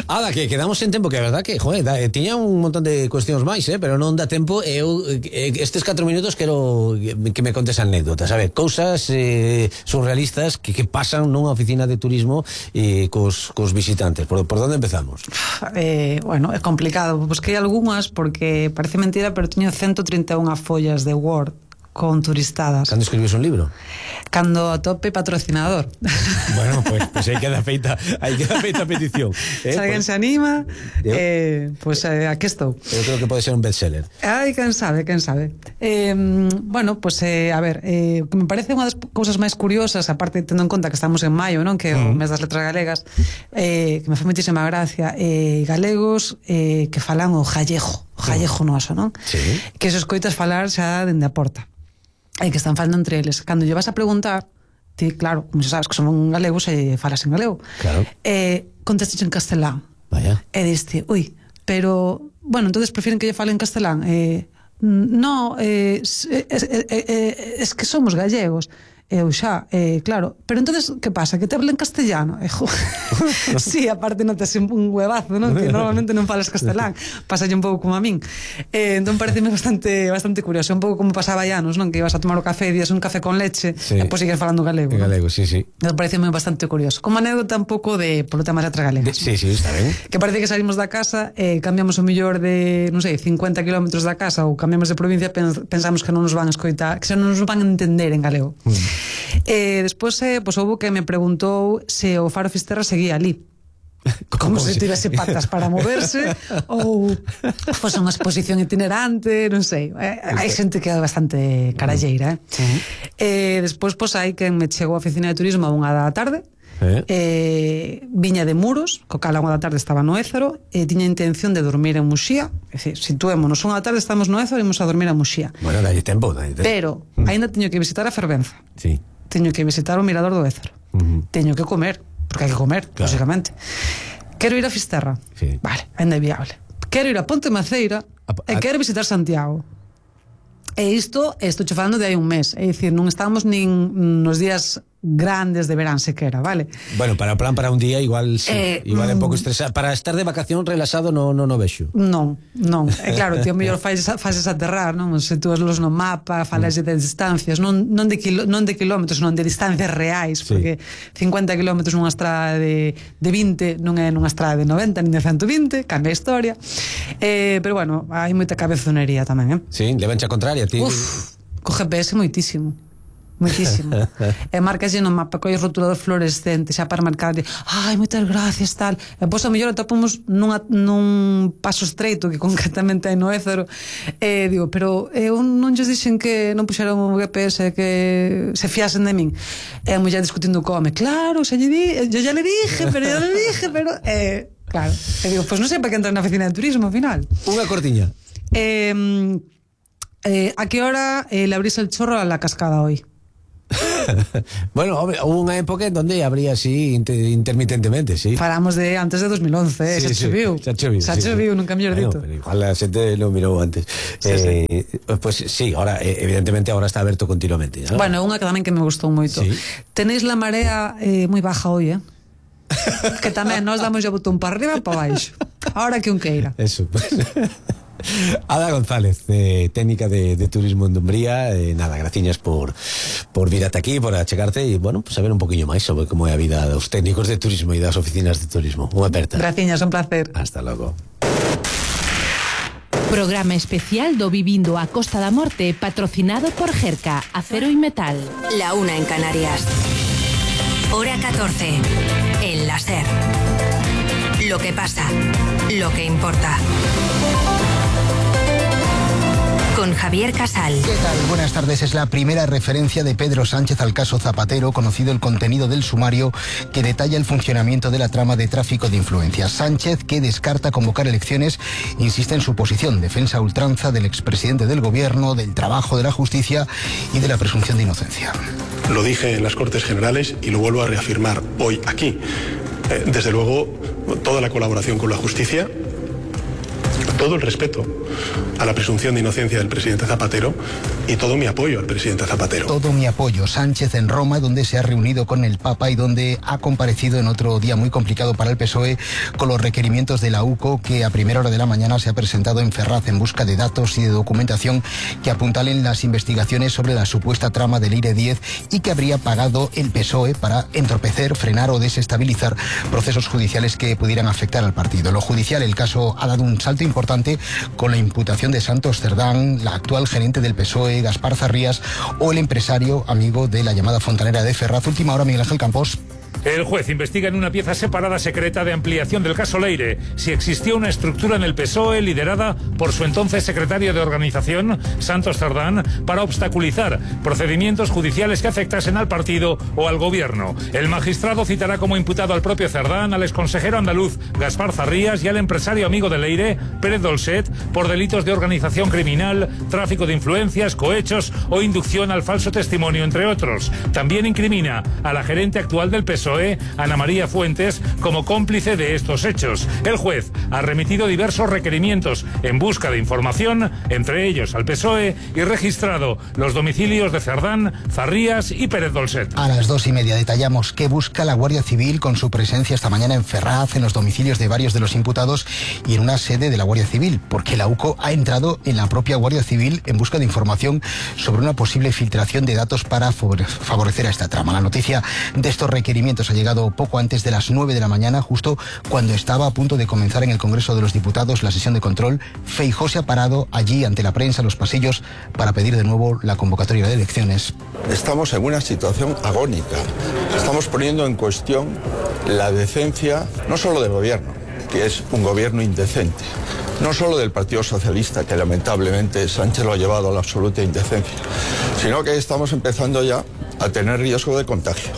Ada, que quedamos en tempo, que é verdad que, joder, da, eh, tiña un montón de cuestións máis, eh, pero non dá tempo, e eu eh, estes catro minutos quero que me contes anécdotas, a ver, cousas eh, surrealistas que, que pasan nunha oficina de turismo eh, cos, cos visitantes. Por, por onde empezamos? Eh, bueno, é complicado, busquei algunhas porque parece mentira, pero teño ciento trinta e unha follas de Word con turistadas. Cando escribes un libro? Cando atope patrocinador. Bueno, pues, pues aí queda feita, aí queda feita a petición. Eh, Se alguén pues, se anima, eu, eh, pues eh, aquí estou. Eu creo que pode ser un bestseller. Ai, quen sabe, quen sabe. Eh, bueno, pues eh, a ver, eh, que me parece unha das cousas máis curiosas, aparte tendo en conta que estamos en maio, non? Que é o mes das letras galegas, eh, que me fai moitísima gracia, eh, galegos eh, que falan o gallego, o gallego noso, non? Sí. Que se escoitas falar xa dende a porta. E que están falando entre eles. Cando lle vas a preguntar, ti, claro, como se sabes que son galegos e falas en galego, claro. eh, contestas en castelán. Vaya. E diste, ui, pero, bueno, entonces prefieren que lle fale en castelán. Eh, no, eh, es, es, es, es que somos gallegos. Eu xa, eh, claro, pero entonces que pasa? Que te hablen castellano? Eh, sí, aparte notas un huevazo, ¿no? Que normalmente non falas castelán, pasa un pouco como a min. Eh, entón pareceme bastante bastante curioso, un pouco como pasaba ya, non? Que ibas a tomar o café e días un café con leche, sí. E depois sigues falando galego. En galego, sí, sí. Entón pareceme bastante curioso. Como anécdota un pouco de polo tema das letras galegas. Sí, sí, está ben. Que parece que salimos da casa e eh, cambiamos o millor de, non sei, cincuenta kilómetros da casa ou cambiamos de provincia, pensamos que non nos van a escoitar, que xa non nos van a entender en galego. Mm. Eh, despois eh, pues, houve que me preguntou se o Faro Fisterra seguía ali como se tivese patas para moverse ou fosse unha exposición itinerante, non sei, eh, hai xente que é bastante caralleira, eh? Uh-huh. eh, despois pues, hai quen me chegou a oficina de turismo a unha da tarde. Eh. Eh, viña de Muros, co cal a unha da tarde estaba no Ézaro e tiña intención de dormir en Muxía. É dicir, situémonos, unha da tarde estamos no Ézaro e imos a dormir a Muxía. Bueno, dalle tempo, dalle tempo. Pero, mm. aínda teño que visitar a Fervenza. Sí. Teño que visitar o Mirador do Ézaro. Uh-huh. Teño que comer, porque hai que comer, claro. Lógicamente. Quero ir a Fisterra. Sí. Vale, ainda é viable. Quero ir a Ponte Maceira a, a... e quero visitar Santiago. E isto, estou che falando de hai un mes. É dicir, non estamos nin nos días grandes deberán sequera, vale? Bueno, para plan para un día igual sí, eh, igual é un pouco estresado. Para estar de vacación relajado no no no vexo. Non, non. E claro, tío, mellor fases fases aterrar, non? Se tú los no mapa, falas de distancias, non non de quilo, non de kilómetros, non de distancias reais, sí. Porque cincuenta kilómetros nunha estrada de de vinte non é nunha estrada de noventa nin de ciento vinte, cambia a historia. Eh, pero bueno, hai moita cabezonería tamén, eh? Sí, levancha contraria, ti. Uf, co G P S moitísimo. Moitísimo. E marcas no mapa coi rotulador fluorescente xa para marcar de, ai, moitas gracias, tal. E pois a mellor atopamos nunha, nun paso estreito que concretamente hai no Ézaro. E digo, pero eu non lles dixen que non puxeron o G P S que se fiasen de min. E a muller discutindo co home, claro, xa lle di, yo ya le dije, pero yo le dije, pero eh, claro. E digo, pois non sei para que entra na oficina de turismo ao final. Unha cortiña. Eh, eh, a que hora eh, le abrís el chorro a la cascada hoy? Bueno, hombre, hubo unha época en donde abría así inter intermitentemente, sí. Falamos de antes de dos mil once, eh, sí, xa choviu. Sí, xa choviu, xa sí, choviu, sí. nunca mellor dito. Bueno, igual a xente lo mirou antes. Sí, eh, sí. Pues sí, ahora evidentemente ahora está aberto continuamente, ¿no? Bueno, unha que tamén que me gustou moito. Sí. Tenéis la marea eh, moi baja hoy, eh? Que tamén nos damos o botón para arriba e para baixo. Ahora que un queira. Eso, pues. Ada González, eh, técnica de, de turismo en Dumbría, eh, nada, graciñas por por vir ata aquí, por achegarte e, bueno, pues saber un poquinho máis sobre como é a vida dos técnicos de turismo e das oficinas de turismo. Unha aperta. Graciñas, un placer. Hasta logo. Programa especial do Vivindo a Costa da Morte, patrocinado por Gerca, Acero y Metal. La una en Canarias. Hora catorce. El láser. Lo que pasa, lo que importa. Con Javier Casal. ¿Qué tal? Buenas tardes. Es la primera referencia de Pedro Sánchez al caso Zapatero, conocido el contenido del sumario que detalla el funcionamiento de la trama de tráfico de influencias. Sánchez, que descarta convocar elecciones, insiste en su posición, defensa a ultranza del expresidente del gobierno, del trabajo de la justicia y de la presunción de inocencia. Lo dije en las Cortes Generales y lo vuelvo a reafirmar hoy aquí. Eh, desde luego, toda la colaboración con la justicia, todo el respeto a la presunción de inocencia del presidente Zapatero y todo mi apoyo al presidente Zapatero. Todo mi apoyo. Sánchez en Roma, donde se ha reunido con el Papa y donde ha comparecido en otro día muy complicado para el P S O E con los requerimientos de la U C O, que a primera hora de la mañana se ha presentado en Ferraz en busca de datos y de documentación que apuntalen las investigaciones sobre la supuesta trama del Eire diez y que habría pagado el P S O E para entorpecer, frenar o desestabilizar procesos judiciales que pudieran afectar al partido. Lo judicial, el caso ha dado un salto importante con la imputación de Santos Cerdán, la actual gerente del P S O E, Gaspar Zarrías, o el empresario amigo de la llamada fontanera de Ferraz. Última hora, Miguel Ángel Campos. El juez investiga en una pieza separada secreta de ampliación del caso Leire si existía una estructura en el P S O E liderada por su entonces secretario de organización, Santos Cerdán, para obstaculizar procedimientos judiciales que afectasen al partido o al gobierno. El magistrado citará como imputado al propio Cerdán, al exconsejero andaluz Gaspar Zarrías y al empresario amigo de Leire, Pérez Dolcet, por delitos de organización criminal, tráfico de influencias, cohechos o inducción al falso testimonio, entre otros. También incrimina a la gerente actual del P S O E, Ana María Fuentes, como cómplice de estos hechos. El juez ha remitido diversos requerimientos en busca de información, entre ellos al P S O E, y registrado los domicilios de Cerdán, Zarrías y Pérez Dolcet. A las dos y media detallamos qué busca la Guardia Civil con su presencia esta mañana en Ferraz, en los domicilios de varios de los imputados y en una sede de la Guardia Civil, porque la U C O ha entrado en la propia Guardia Civil en busca de información sobre una posible filtración de datos para favorecer a esta trama. La noticia de estos requerimientos ha llegado poco antes de las nueve de la mañana, justo cuando estaba a punto de comenzar en el Congreso de los Diputados la sesión de control. Feijóo se ha parado allí ante la prensa, en los pasillos, para pedir de nuevo la convocatoria de elecciones. Estamos en una situación agónica. Estamos poniendo en cuestión la decencia, no solo del gobierno, que es un gobierno indecente, no solo del Partido Socialista, que lamentablemente Sánchez lo ha llevado a la absoluta indecencia, sino que estamos empezando ya a tener riesgo de contagio.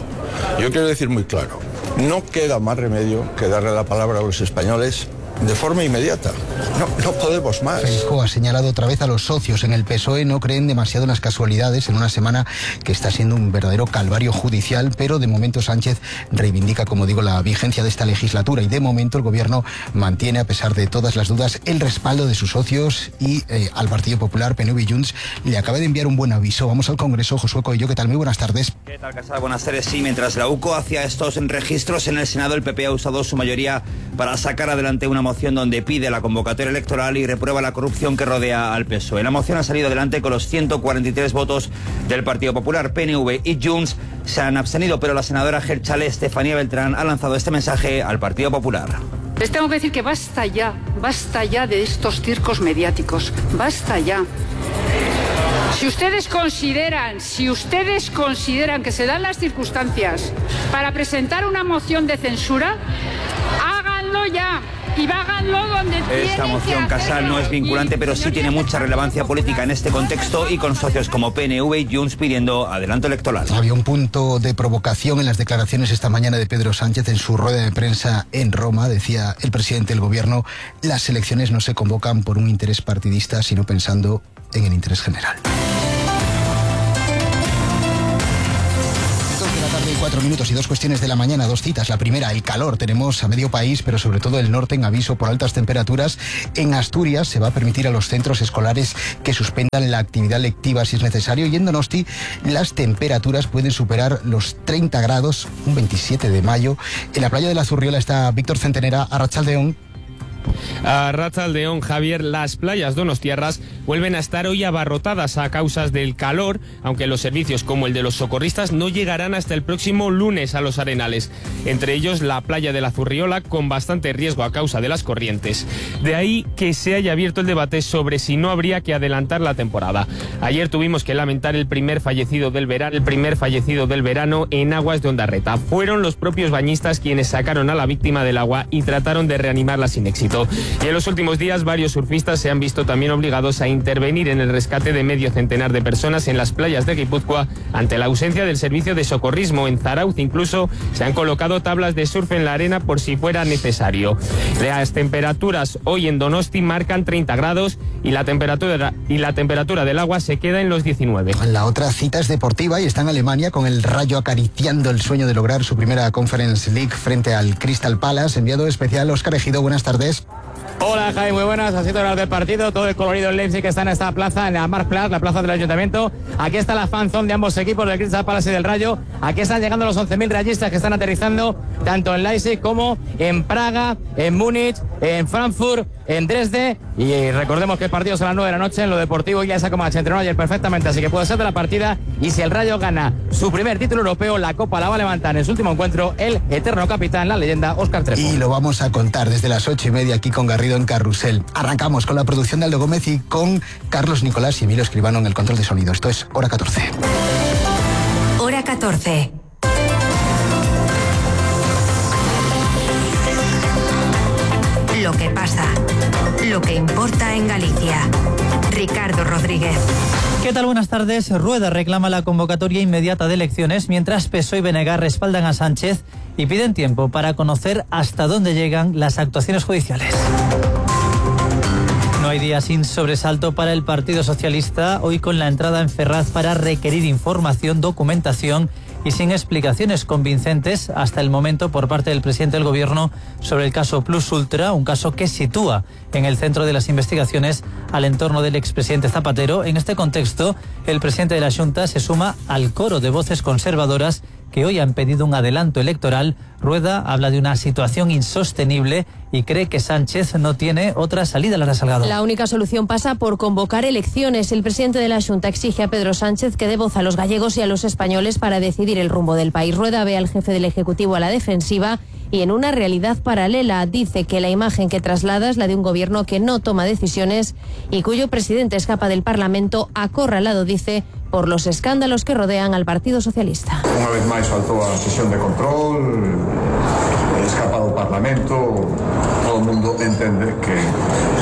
Yo quiero decir muy claro, no queda más remedio que darle la palabra a los españoles de forma inmediata. No, no podemos más. Feijóo ha señalado otra vez a los socios en el P S O E, no creen demasiado en las casualidades en una semana que está siendo un verdadero calvario judicial, pero de momento Sánchez reivindica, como digo, la vigencia de esta legislatura y de momento el gobierno mantiene, a pesar de todas las dudas, el respaldo de sus socios y eh, al Partido Popular, P N V y Junts le acaba de enviar un buen aviso. Vamos al Congreso. Josué Coello, ¿qué tal? Muy buenas tardes. ¿Qué tal, Casal? Buenas tardes. Sí, mientras la U C O hacía estos registros en el Senado, el P P ha usado su mayoría para sacar adelante una moción donde pide la convocatoria electoral y reprueba la corrupción que rodea al P S O E. La moción ha salido adelante con los ciento cuarenta y tres votos del Partido Popular. P N V y Junts se han abstenido, pero la senadora Gelchale Estefanía Beltrán ha lanzado este mensaje al Partido Popular. Les tengo que decir que basta ya, basta ya de estos circos mediáticos, basta ya. Si ustedes consideran, si ustedes consideran que se dan las circunstancias para presentar una moción de censura, háganlo ya. Y háganlo donde Esta moción, Casal, no es vinculante, pero sí tiene mucha relevancia política en este contexto y con socios como P N V y Junts pidiendo adelanto electoral. Había un punto de provocación en las declaraciones esta mañana de Pedro Sánchez en su rueda de prensa en Roma. Decía el presidente del gobierno, las elecciones no se convocan por un interés partidista, sino pensando en el interés general. Cuatro minutos y dos cuestiones de la mañana, dos citas. La primera, el calor. Tenemos a medio país, pero sobre todo el norte, en aviso por altas temperaturas. En Asturias se va a permitir a los centros escolares que suspendan la actividad lectiva si es necesario. Y en Donosti las temperaturas pueden superar los treinta grados, un veintisiete de mayo. En la playa de la Zurriola está Víctor Centenera, Arratsaldeón. A Arratsaldeón, Javier, las playas donostiarras vuelven a estar hoy abarrotadas a causa del calor, aunque los servicios como el de los socorristas no llegarán hasta el próximo lunes a los arenales. Entre ellos la playa de la Zurriola, con bastante riesgo a causa de las corrientes. De ahí que se haya abierto el debate sobre si no habría que adelantar la temporada. Ayer tuvimos que lamentar el primer fallecido del verano, el primer fallecido del verano en aguas de Ondarreta. Fueron los propios bañistas quienes sacaron a la víctima del agua y trataron de reanimarla sin éxito. Y en los últimos días varios surfistas se han visto también obligados a intervenir en el rescate de medio centenar de personas en las playas de Guipúzcoa ante la ausencia del servicio de socorrismo. En Zarauz incluso se han colocado tablas de surf en la arena por si fuera necesario. Las temperaturas hoy en Donosti marcan treinta grados y la temperatura, y la temperatura del agua se queda en los diecinueve. La otra cita es deportiva y está en Alemania con el Rayo acariciando el sueño de lograr su primera Conference League frente al Crystal Palace. Enviado especial Óscar Ejido, buenas tardes. Hola Jaime, muy buenas, así todo el del partido, todo el colorido en Leipzig que está en esta plaza, en la Marktplatz, la plaza del Ayuntamiento. Aquí está la fanzone de ambos equipos, del Crystal Palace y del Rayo. Aquí están llegando los once mil rayistas que están aterrizando tanto en Leipzig como en Praga, en Múnich, en Frankfurt, en Dresde. Y recordemos que el partido es a las nueve de la noche en lo deportivo. Ya esa Comanche entrenó ayer perfectamente, así que puede ser de la partida. Y si el Rayo gana su primer título europeo, la Copa la va a levantar en su último encuentro el eterno capitán, la leyenda Óscar Trepo. Y lo vamos a contar desde las ocho y media aquí con Garrido en Carrusel. Arrancamos con la producción de Aldo Gómez y con Carlos Nicolás y Emilio Escribano en el control de sonido. Esto es Hora catorce. Hora catorce. Lo que pasa, lo que importa en Galicia. Ricardo Rodríguez. ¿Qué tal? Buenas tardes. Rueda reclama la convocatoria inmediata de elecciones, mientras P S O E y B N G respaldan a Sánchez y piden tiempo para conocer hasta dónde llegan las actuaciones judiciales. No hay día sin sobresalto para el Partido Socialista, hoy con la entrada en Ferraz para requerir información, documentación y sin explicaciones convincentes hasta el momento por parte del presidente del Gobierno sobre el caso Plus Ultra, un caso que sitúa en el centro de las investigaciones al entorno del expresidente Zapatero. En este contexto, el presidente de la Xunta se suma al coro de voces conservadoras que hoy han pedido un adelanto electoral. Rueda habla de una situación insostenible y cree que Sánchez no tiene otra salida. Lara Salgado. La única solución pasa por convocar elecciones. El presidente de la Xunta exige a Pedro Sánchez que dé voz a los gallegos y a los españoles para decidir el rumbo del país. Rueda ve al jefe del Ejecutivo a la defensiva y en una realidad paralela. Dice que la imagen que traslada es la de un gobierno que no toma decisiones y cuyo presidente escapa del Parlamento acorralado, dice, por los escándalos que rodean al Partido Socialista. Unha vez máis faltou a sesión de control, escapado o Parlamento, todo o mundo entende que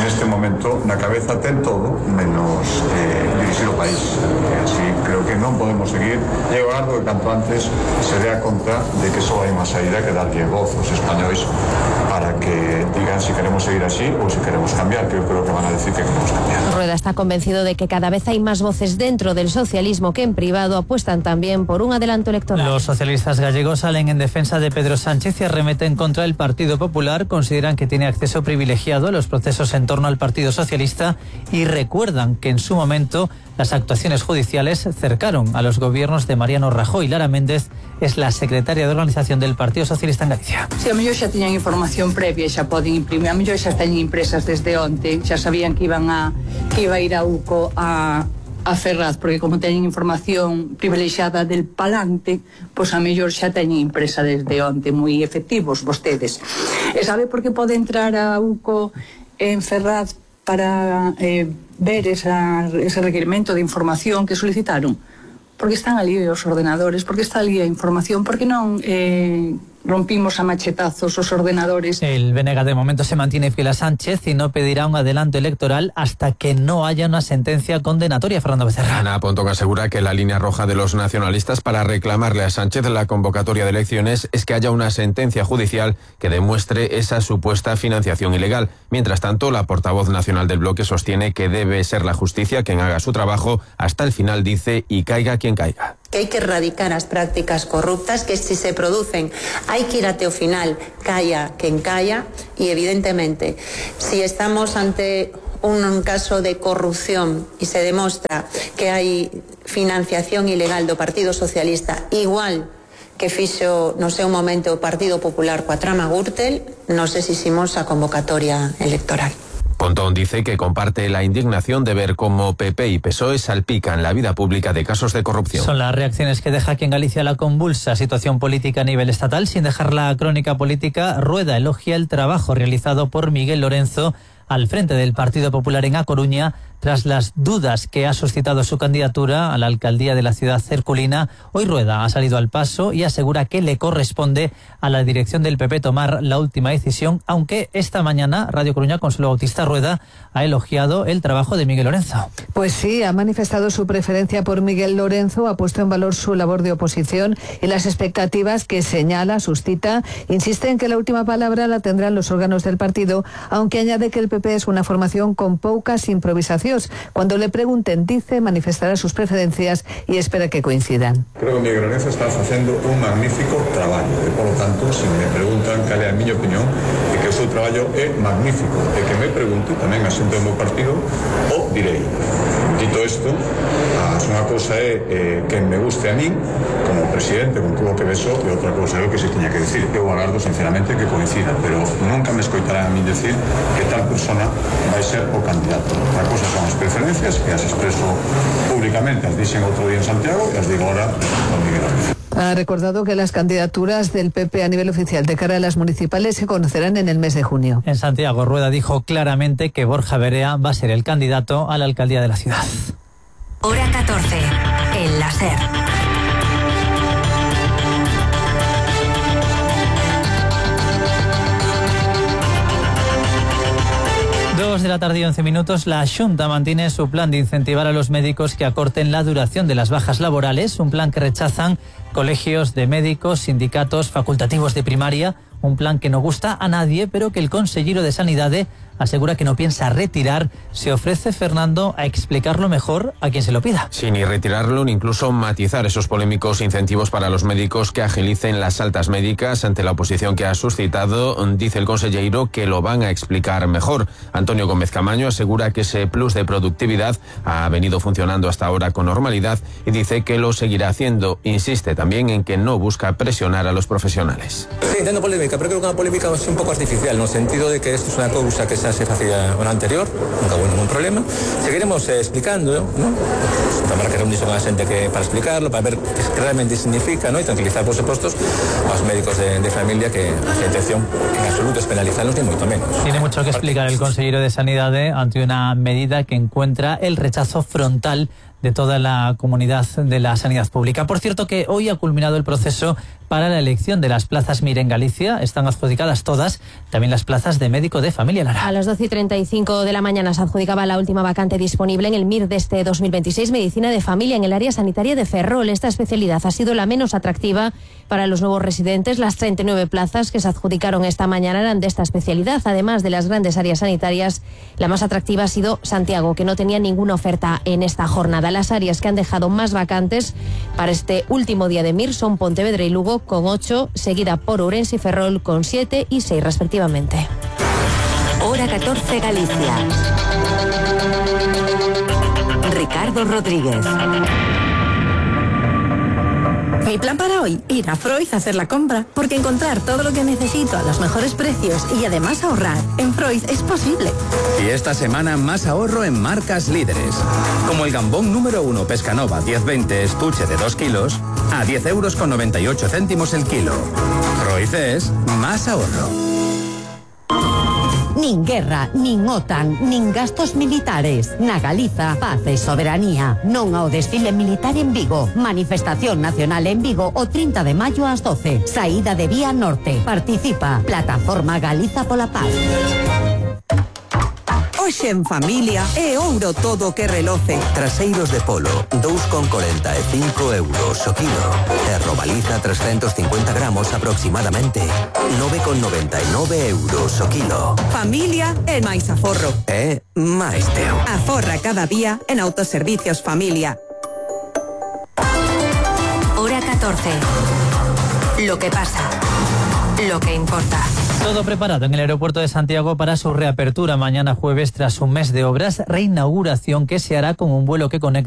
neste momento na cabeza ten todo menos eh, dirixir o país. E así creo que non podemos seguir. E eu agardo que canto antes se dé a conta de que só hai unha saída que darlle voz aos españois para que digan si queremos seguir así ou si queremos cambiar, que eu creo que van a decir que queremos cambiar. Rueda está convencido de que cada vez hay más voces dentro del socialismo que en privado apuestan también por un adelanto electoral. Los socialistas gallegos salen en defensa de Pedro Sánchez y arremeten contra el Partido Popular. Consideran que tiene acceso privilegiado a los procesos en torno al Partido Socialista y recuerdan que en su momento las actuaciones judiciales cercaron a los gobiernos de Mariano Rajoy. Lara Méndez es la secretaria de organización del Partido Socialista en Galicia. Si a mellor xa tiñan información previa, xa poden imprimir, a mellor xa están impresas desde onte, xa sabían que iban a que iba a ir a UCO a a Ferraz, porque como teñen información privilexiada del palante, pois a mellor xa teñen impresa desde onte, moi efectivos vostedes. E sabe por que pode entrar a UCO en Ferraz para eh, ver esa, ese requerimento de información que solicitaron? Porque están ali os ordenadores, porque está ali a información, porque non eh, rompimos a machetazos os ordenadores. El B N G de momento se mantiene fiel a Sánchez y no pedirá un adelanto electoral hasta que no haya una sentencia condenatoria. Fernando Becerra. Ana Pontón asegura que la línea roja de los nacionalistas para reclamarle a Sánchez la convocatoria de elecciones es que haya una sentencia judicial que demuestre esa supuesta financiación ilegal. Mientras tanto, la portavoz nacional del bloque sostiene que debe ser la justicia quien haga su trabajo hasta el final, dice, y caiga quien caiga. Que hai que erradicar as prácticas corruptas, que si se producen hai que ir até o final, calla quen calla, e evidentemente, si estamos ante un caso de corrupción e se demostra que hai financiación ilegal do Partido Socialista, igual que fixo no seu momento o Partido Popular coa trama Gürtel, nos exiximos a convocatoria electoral. Pontón dice que comparte la indignación de ver cómo P P y P S O E salpican la vida pública de casos de corrupción. Son las reacciones que deja aquí en Galicia la convulsa situación política a nivel estatal. Sin dejar la crónica política, Rueda elogia el trabajo realizado por Miguel Lorenzo al frente del Partido Popular en A Coruña, tras las dudas que ha suscitado su candidatura a la alcaldía de la ciudad herculina. Hoy Rueda ha salido al paso y asegura que le corresponde a la dirección del P P tomar la última decisión, aunque esta mañana Radio Coruña, Consuelo Bautista Rueda, ha elogiado el trabajo de Miguel Lorenzo. Pues sí, ha manifestado su preferencia por Miguel Lorenzo, ha puesto en valor su labor de oposición y las expectativas que señala, suscita. Insiste en que la última palabra la tendrán los órganos del partido, aunque añade que el P P es una formación con pocas improvisaciones. Cuando le pregunten, dice, manifestará sus preferencias y espera que coincidan. Creo que Miguel Lorenzo está facendo un magnífico traballo e, polo tanto, se me preguntan cal é a miña opinión, é que o seu traballo é magnífico, e que me pregunte tamén a xente do meu partido, o direi. Dito isto, unha cousa é eh, que me guste a min como presidente con todo o que beso, e outra cousa é o que se tiña que decir. Eu agardo sinceramente que coincida, pero nunca me escoitarán a min decir que tal persona vai ser o candidato. Outra cousa son as preferencias, que as expreso públicamente, as dixen outro día en Santiago e as digo ahora con Miguel Lorenzo. Ha recordado que las candidaturas del P P a nivel oficial de cara a las municipales se conocerán en el mes de junio. En Santiago, Rueda dijo claramente que Borja Berea va a ser el candidato a la alcaldía de la ciudad. Hora catorce, en la SER. Dos de la tarde y once minutos, la Xunta mantiene su plan de incentivar a los médicos que acorten la duración de las bajas laborales, un plan que rechazan colegios de médicos, sindicatos, facultativos de primaria, un plan que no gusta a nadie, pero que el consejero de Sanidade asegura que no piensa retirar. Se ofrece, Fernando, a explicarlo mejor a quien se lo pida. Sí, ni retirarlo ni incluso matizar esos polémicos incentivos para los médicos que agilicen las altas médicas. Ante la oposición que ha suscitado, dice el consejero que lo van a explicar mejor. Antonio Gómez Camaño asegura que ese plus de productividad ha venido funcionando hasta ahora con normalidad y dice que lo seguirá haciendo. Insiste también en que no busca presionar a los profesionales. Sí, entiendo polémica, pero creo que una polémica es un poco artificial, en el sentido de que esto es una causa que se se facía una anterior, nunca hubo ningún problema. Seguiremos eh, explicando, ¿no? Pues, tomar que reunirse con la gente que, para explicarlo, para ver qué realmente significa, ¿no? Y tranquilizar, por supuesto, a los médicos de, de familia que la intención en absoluto es penalizarlos, ni mucho menos. Tiene mucho que explicar el consejero de Sanidade ante una medida que encuentra el rechazo frontal de toda la comunidad de la sanidad pública. Por cierto que hoy ha culminado el proceso para la elección de las plazas M I R en Galicia. Están adjudicadas todas, también las plazas de médico de familia, Lara. A las doce y treinta y cinco de la mañana se adjudicaba la última vacante disponible en el M I R de este dos mil veintiséis, Medicina de Familia, en el área sanitaria de Ferrol. Esta especialidad ha sido la menos atractiva para los nuevos residentes. Las treinta y nueve plazas que se adjudicaron esta mañana eran de esta especialidad. Además de las grandes áreas sanitarias, la más atractiva ha sido Santiago, que no tenía ninguna oferta en esta jornada. Las áreas que han dejado más vacantes para este último día de M I R son Pontevedra y Lugo, con ocho, seguida por Ourense y Ferrol con siete y seis respectivamente. Hora catorce, Galicia. Ricardo Rodríguez. Mi plan para hoy, ir a Freud a hacer la compra, porque encontrar todo lo que necesito a los mejores precios y además ahorrar en Freud es posible. Y esta semana más ahorro en marcas líderes, como el gambón número uno Pescanova diez veinte estuche de dos kilos a diez euros con noventa y ocho céntimos el kilo. Freud es más ahorro. Nin guerra, nin OTAN, nin gastos militares. Na Galiza, paz e soberanía. Non ao desfile militar en Vigo. Manifestación nacional en Vigo o trinta de maio ás doce. Saída de Vía Norte. Participa. Plataforma Galiza pola Paz. Hoxe en familia é ouro todo que reloce. Traseiros de polo, dous con corenta e cinco euros o kilo. E robaliza trescentos cincuenta gramos aproximadamente, nove con noventa e nove euros o kilo. Familia é máis aforro. É máis teu. Aforra cada día en Autoservicios Familia. Hora catorce. Lo que pasa. Lo que importa. Todo preparado en el aeropuerto de Santiago para su reapertura mañana jueves tras un mes de obras, reinauguración que se hará con un vuelo que conecta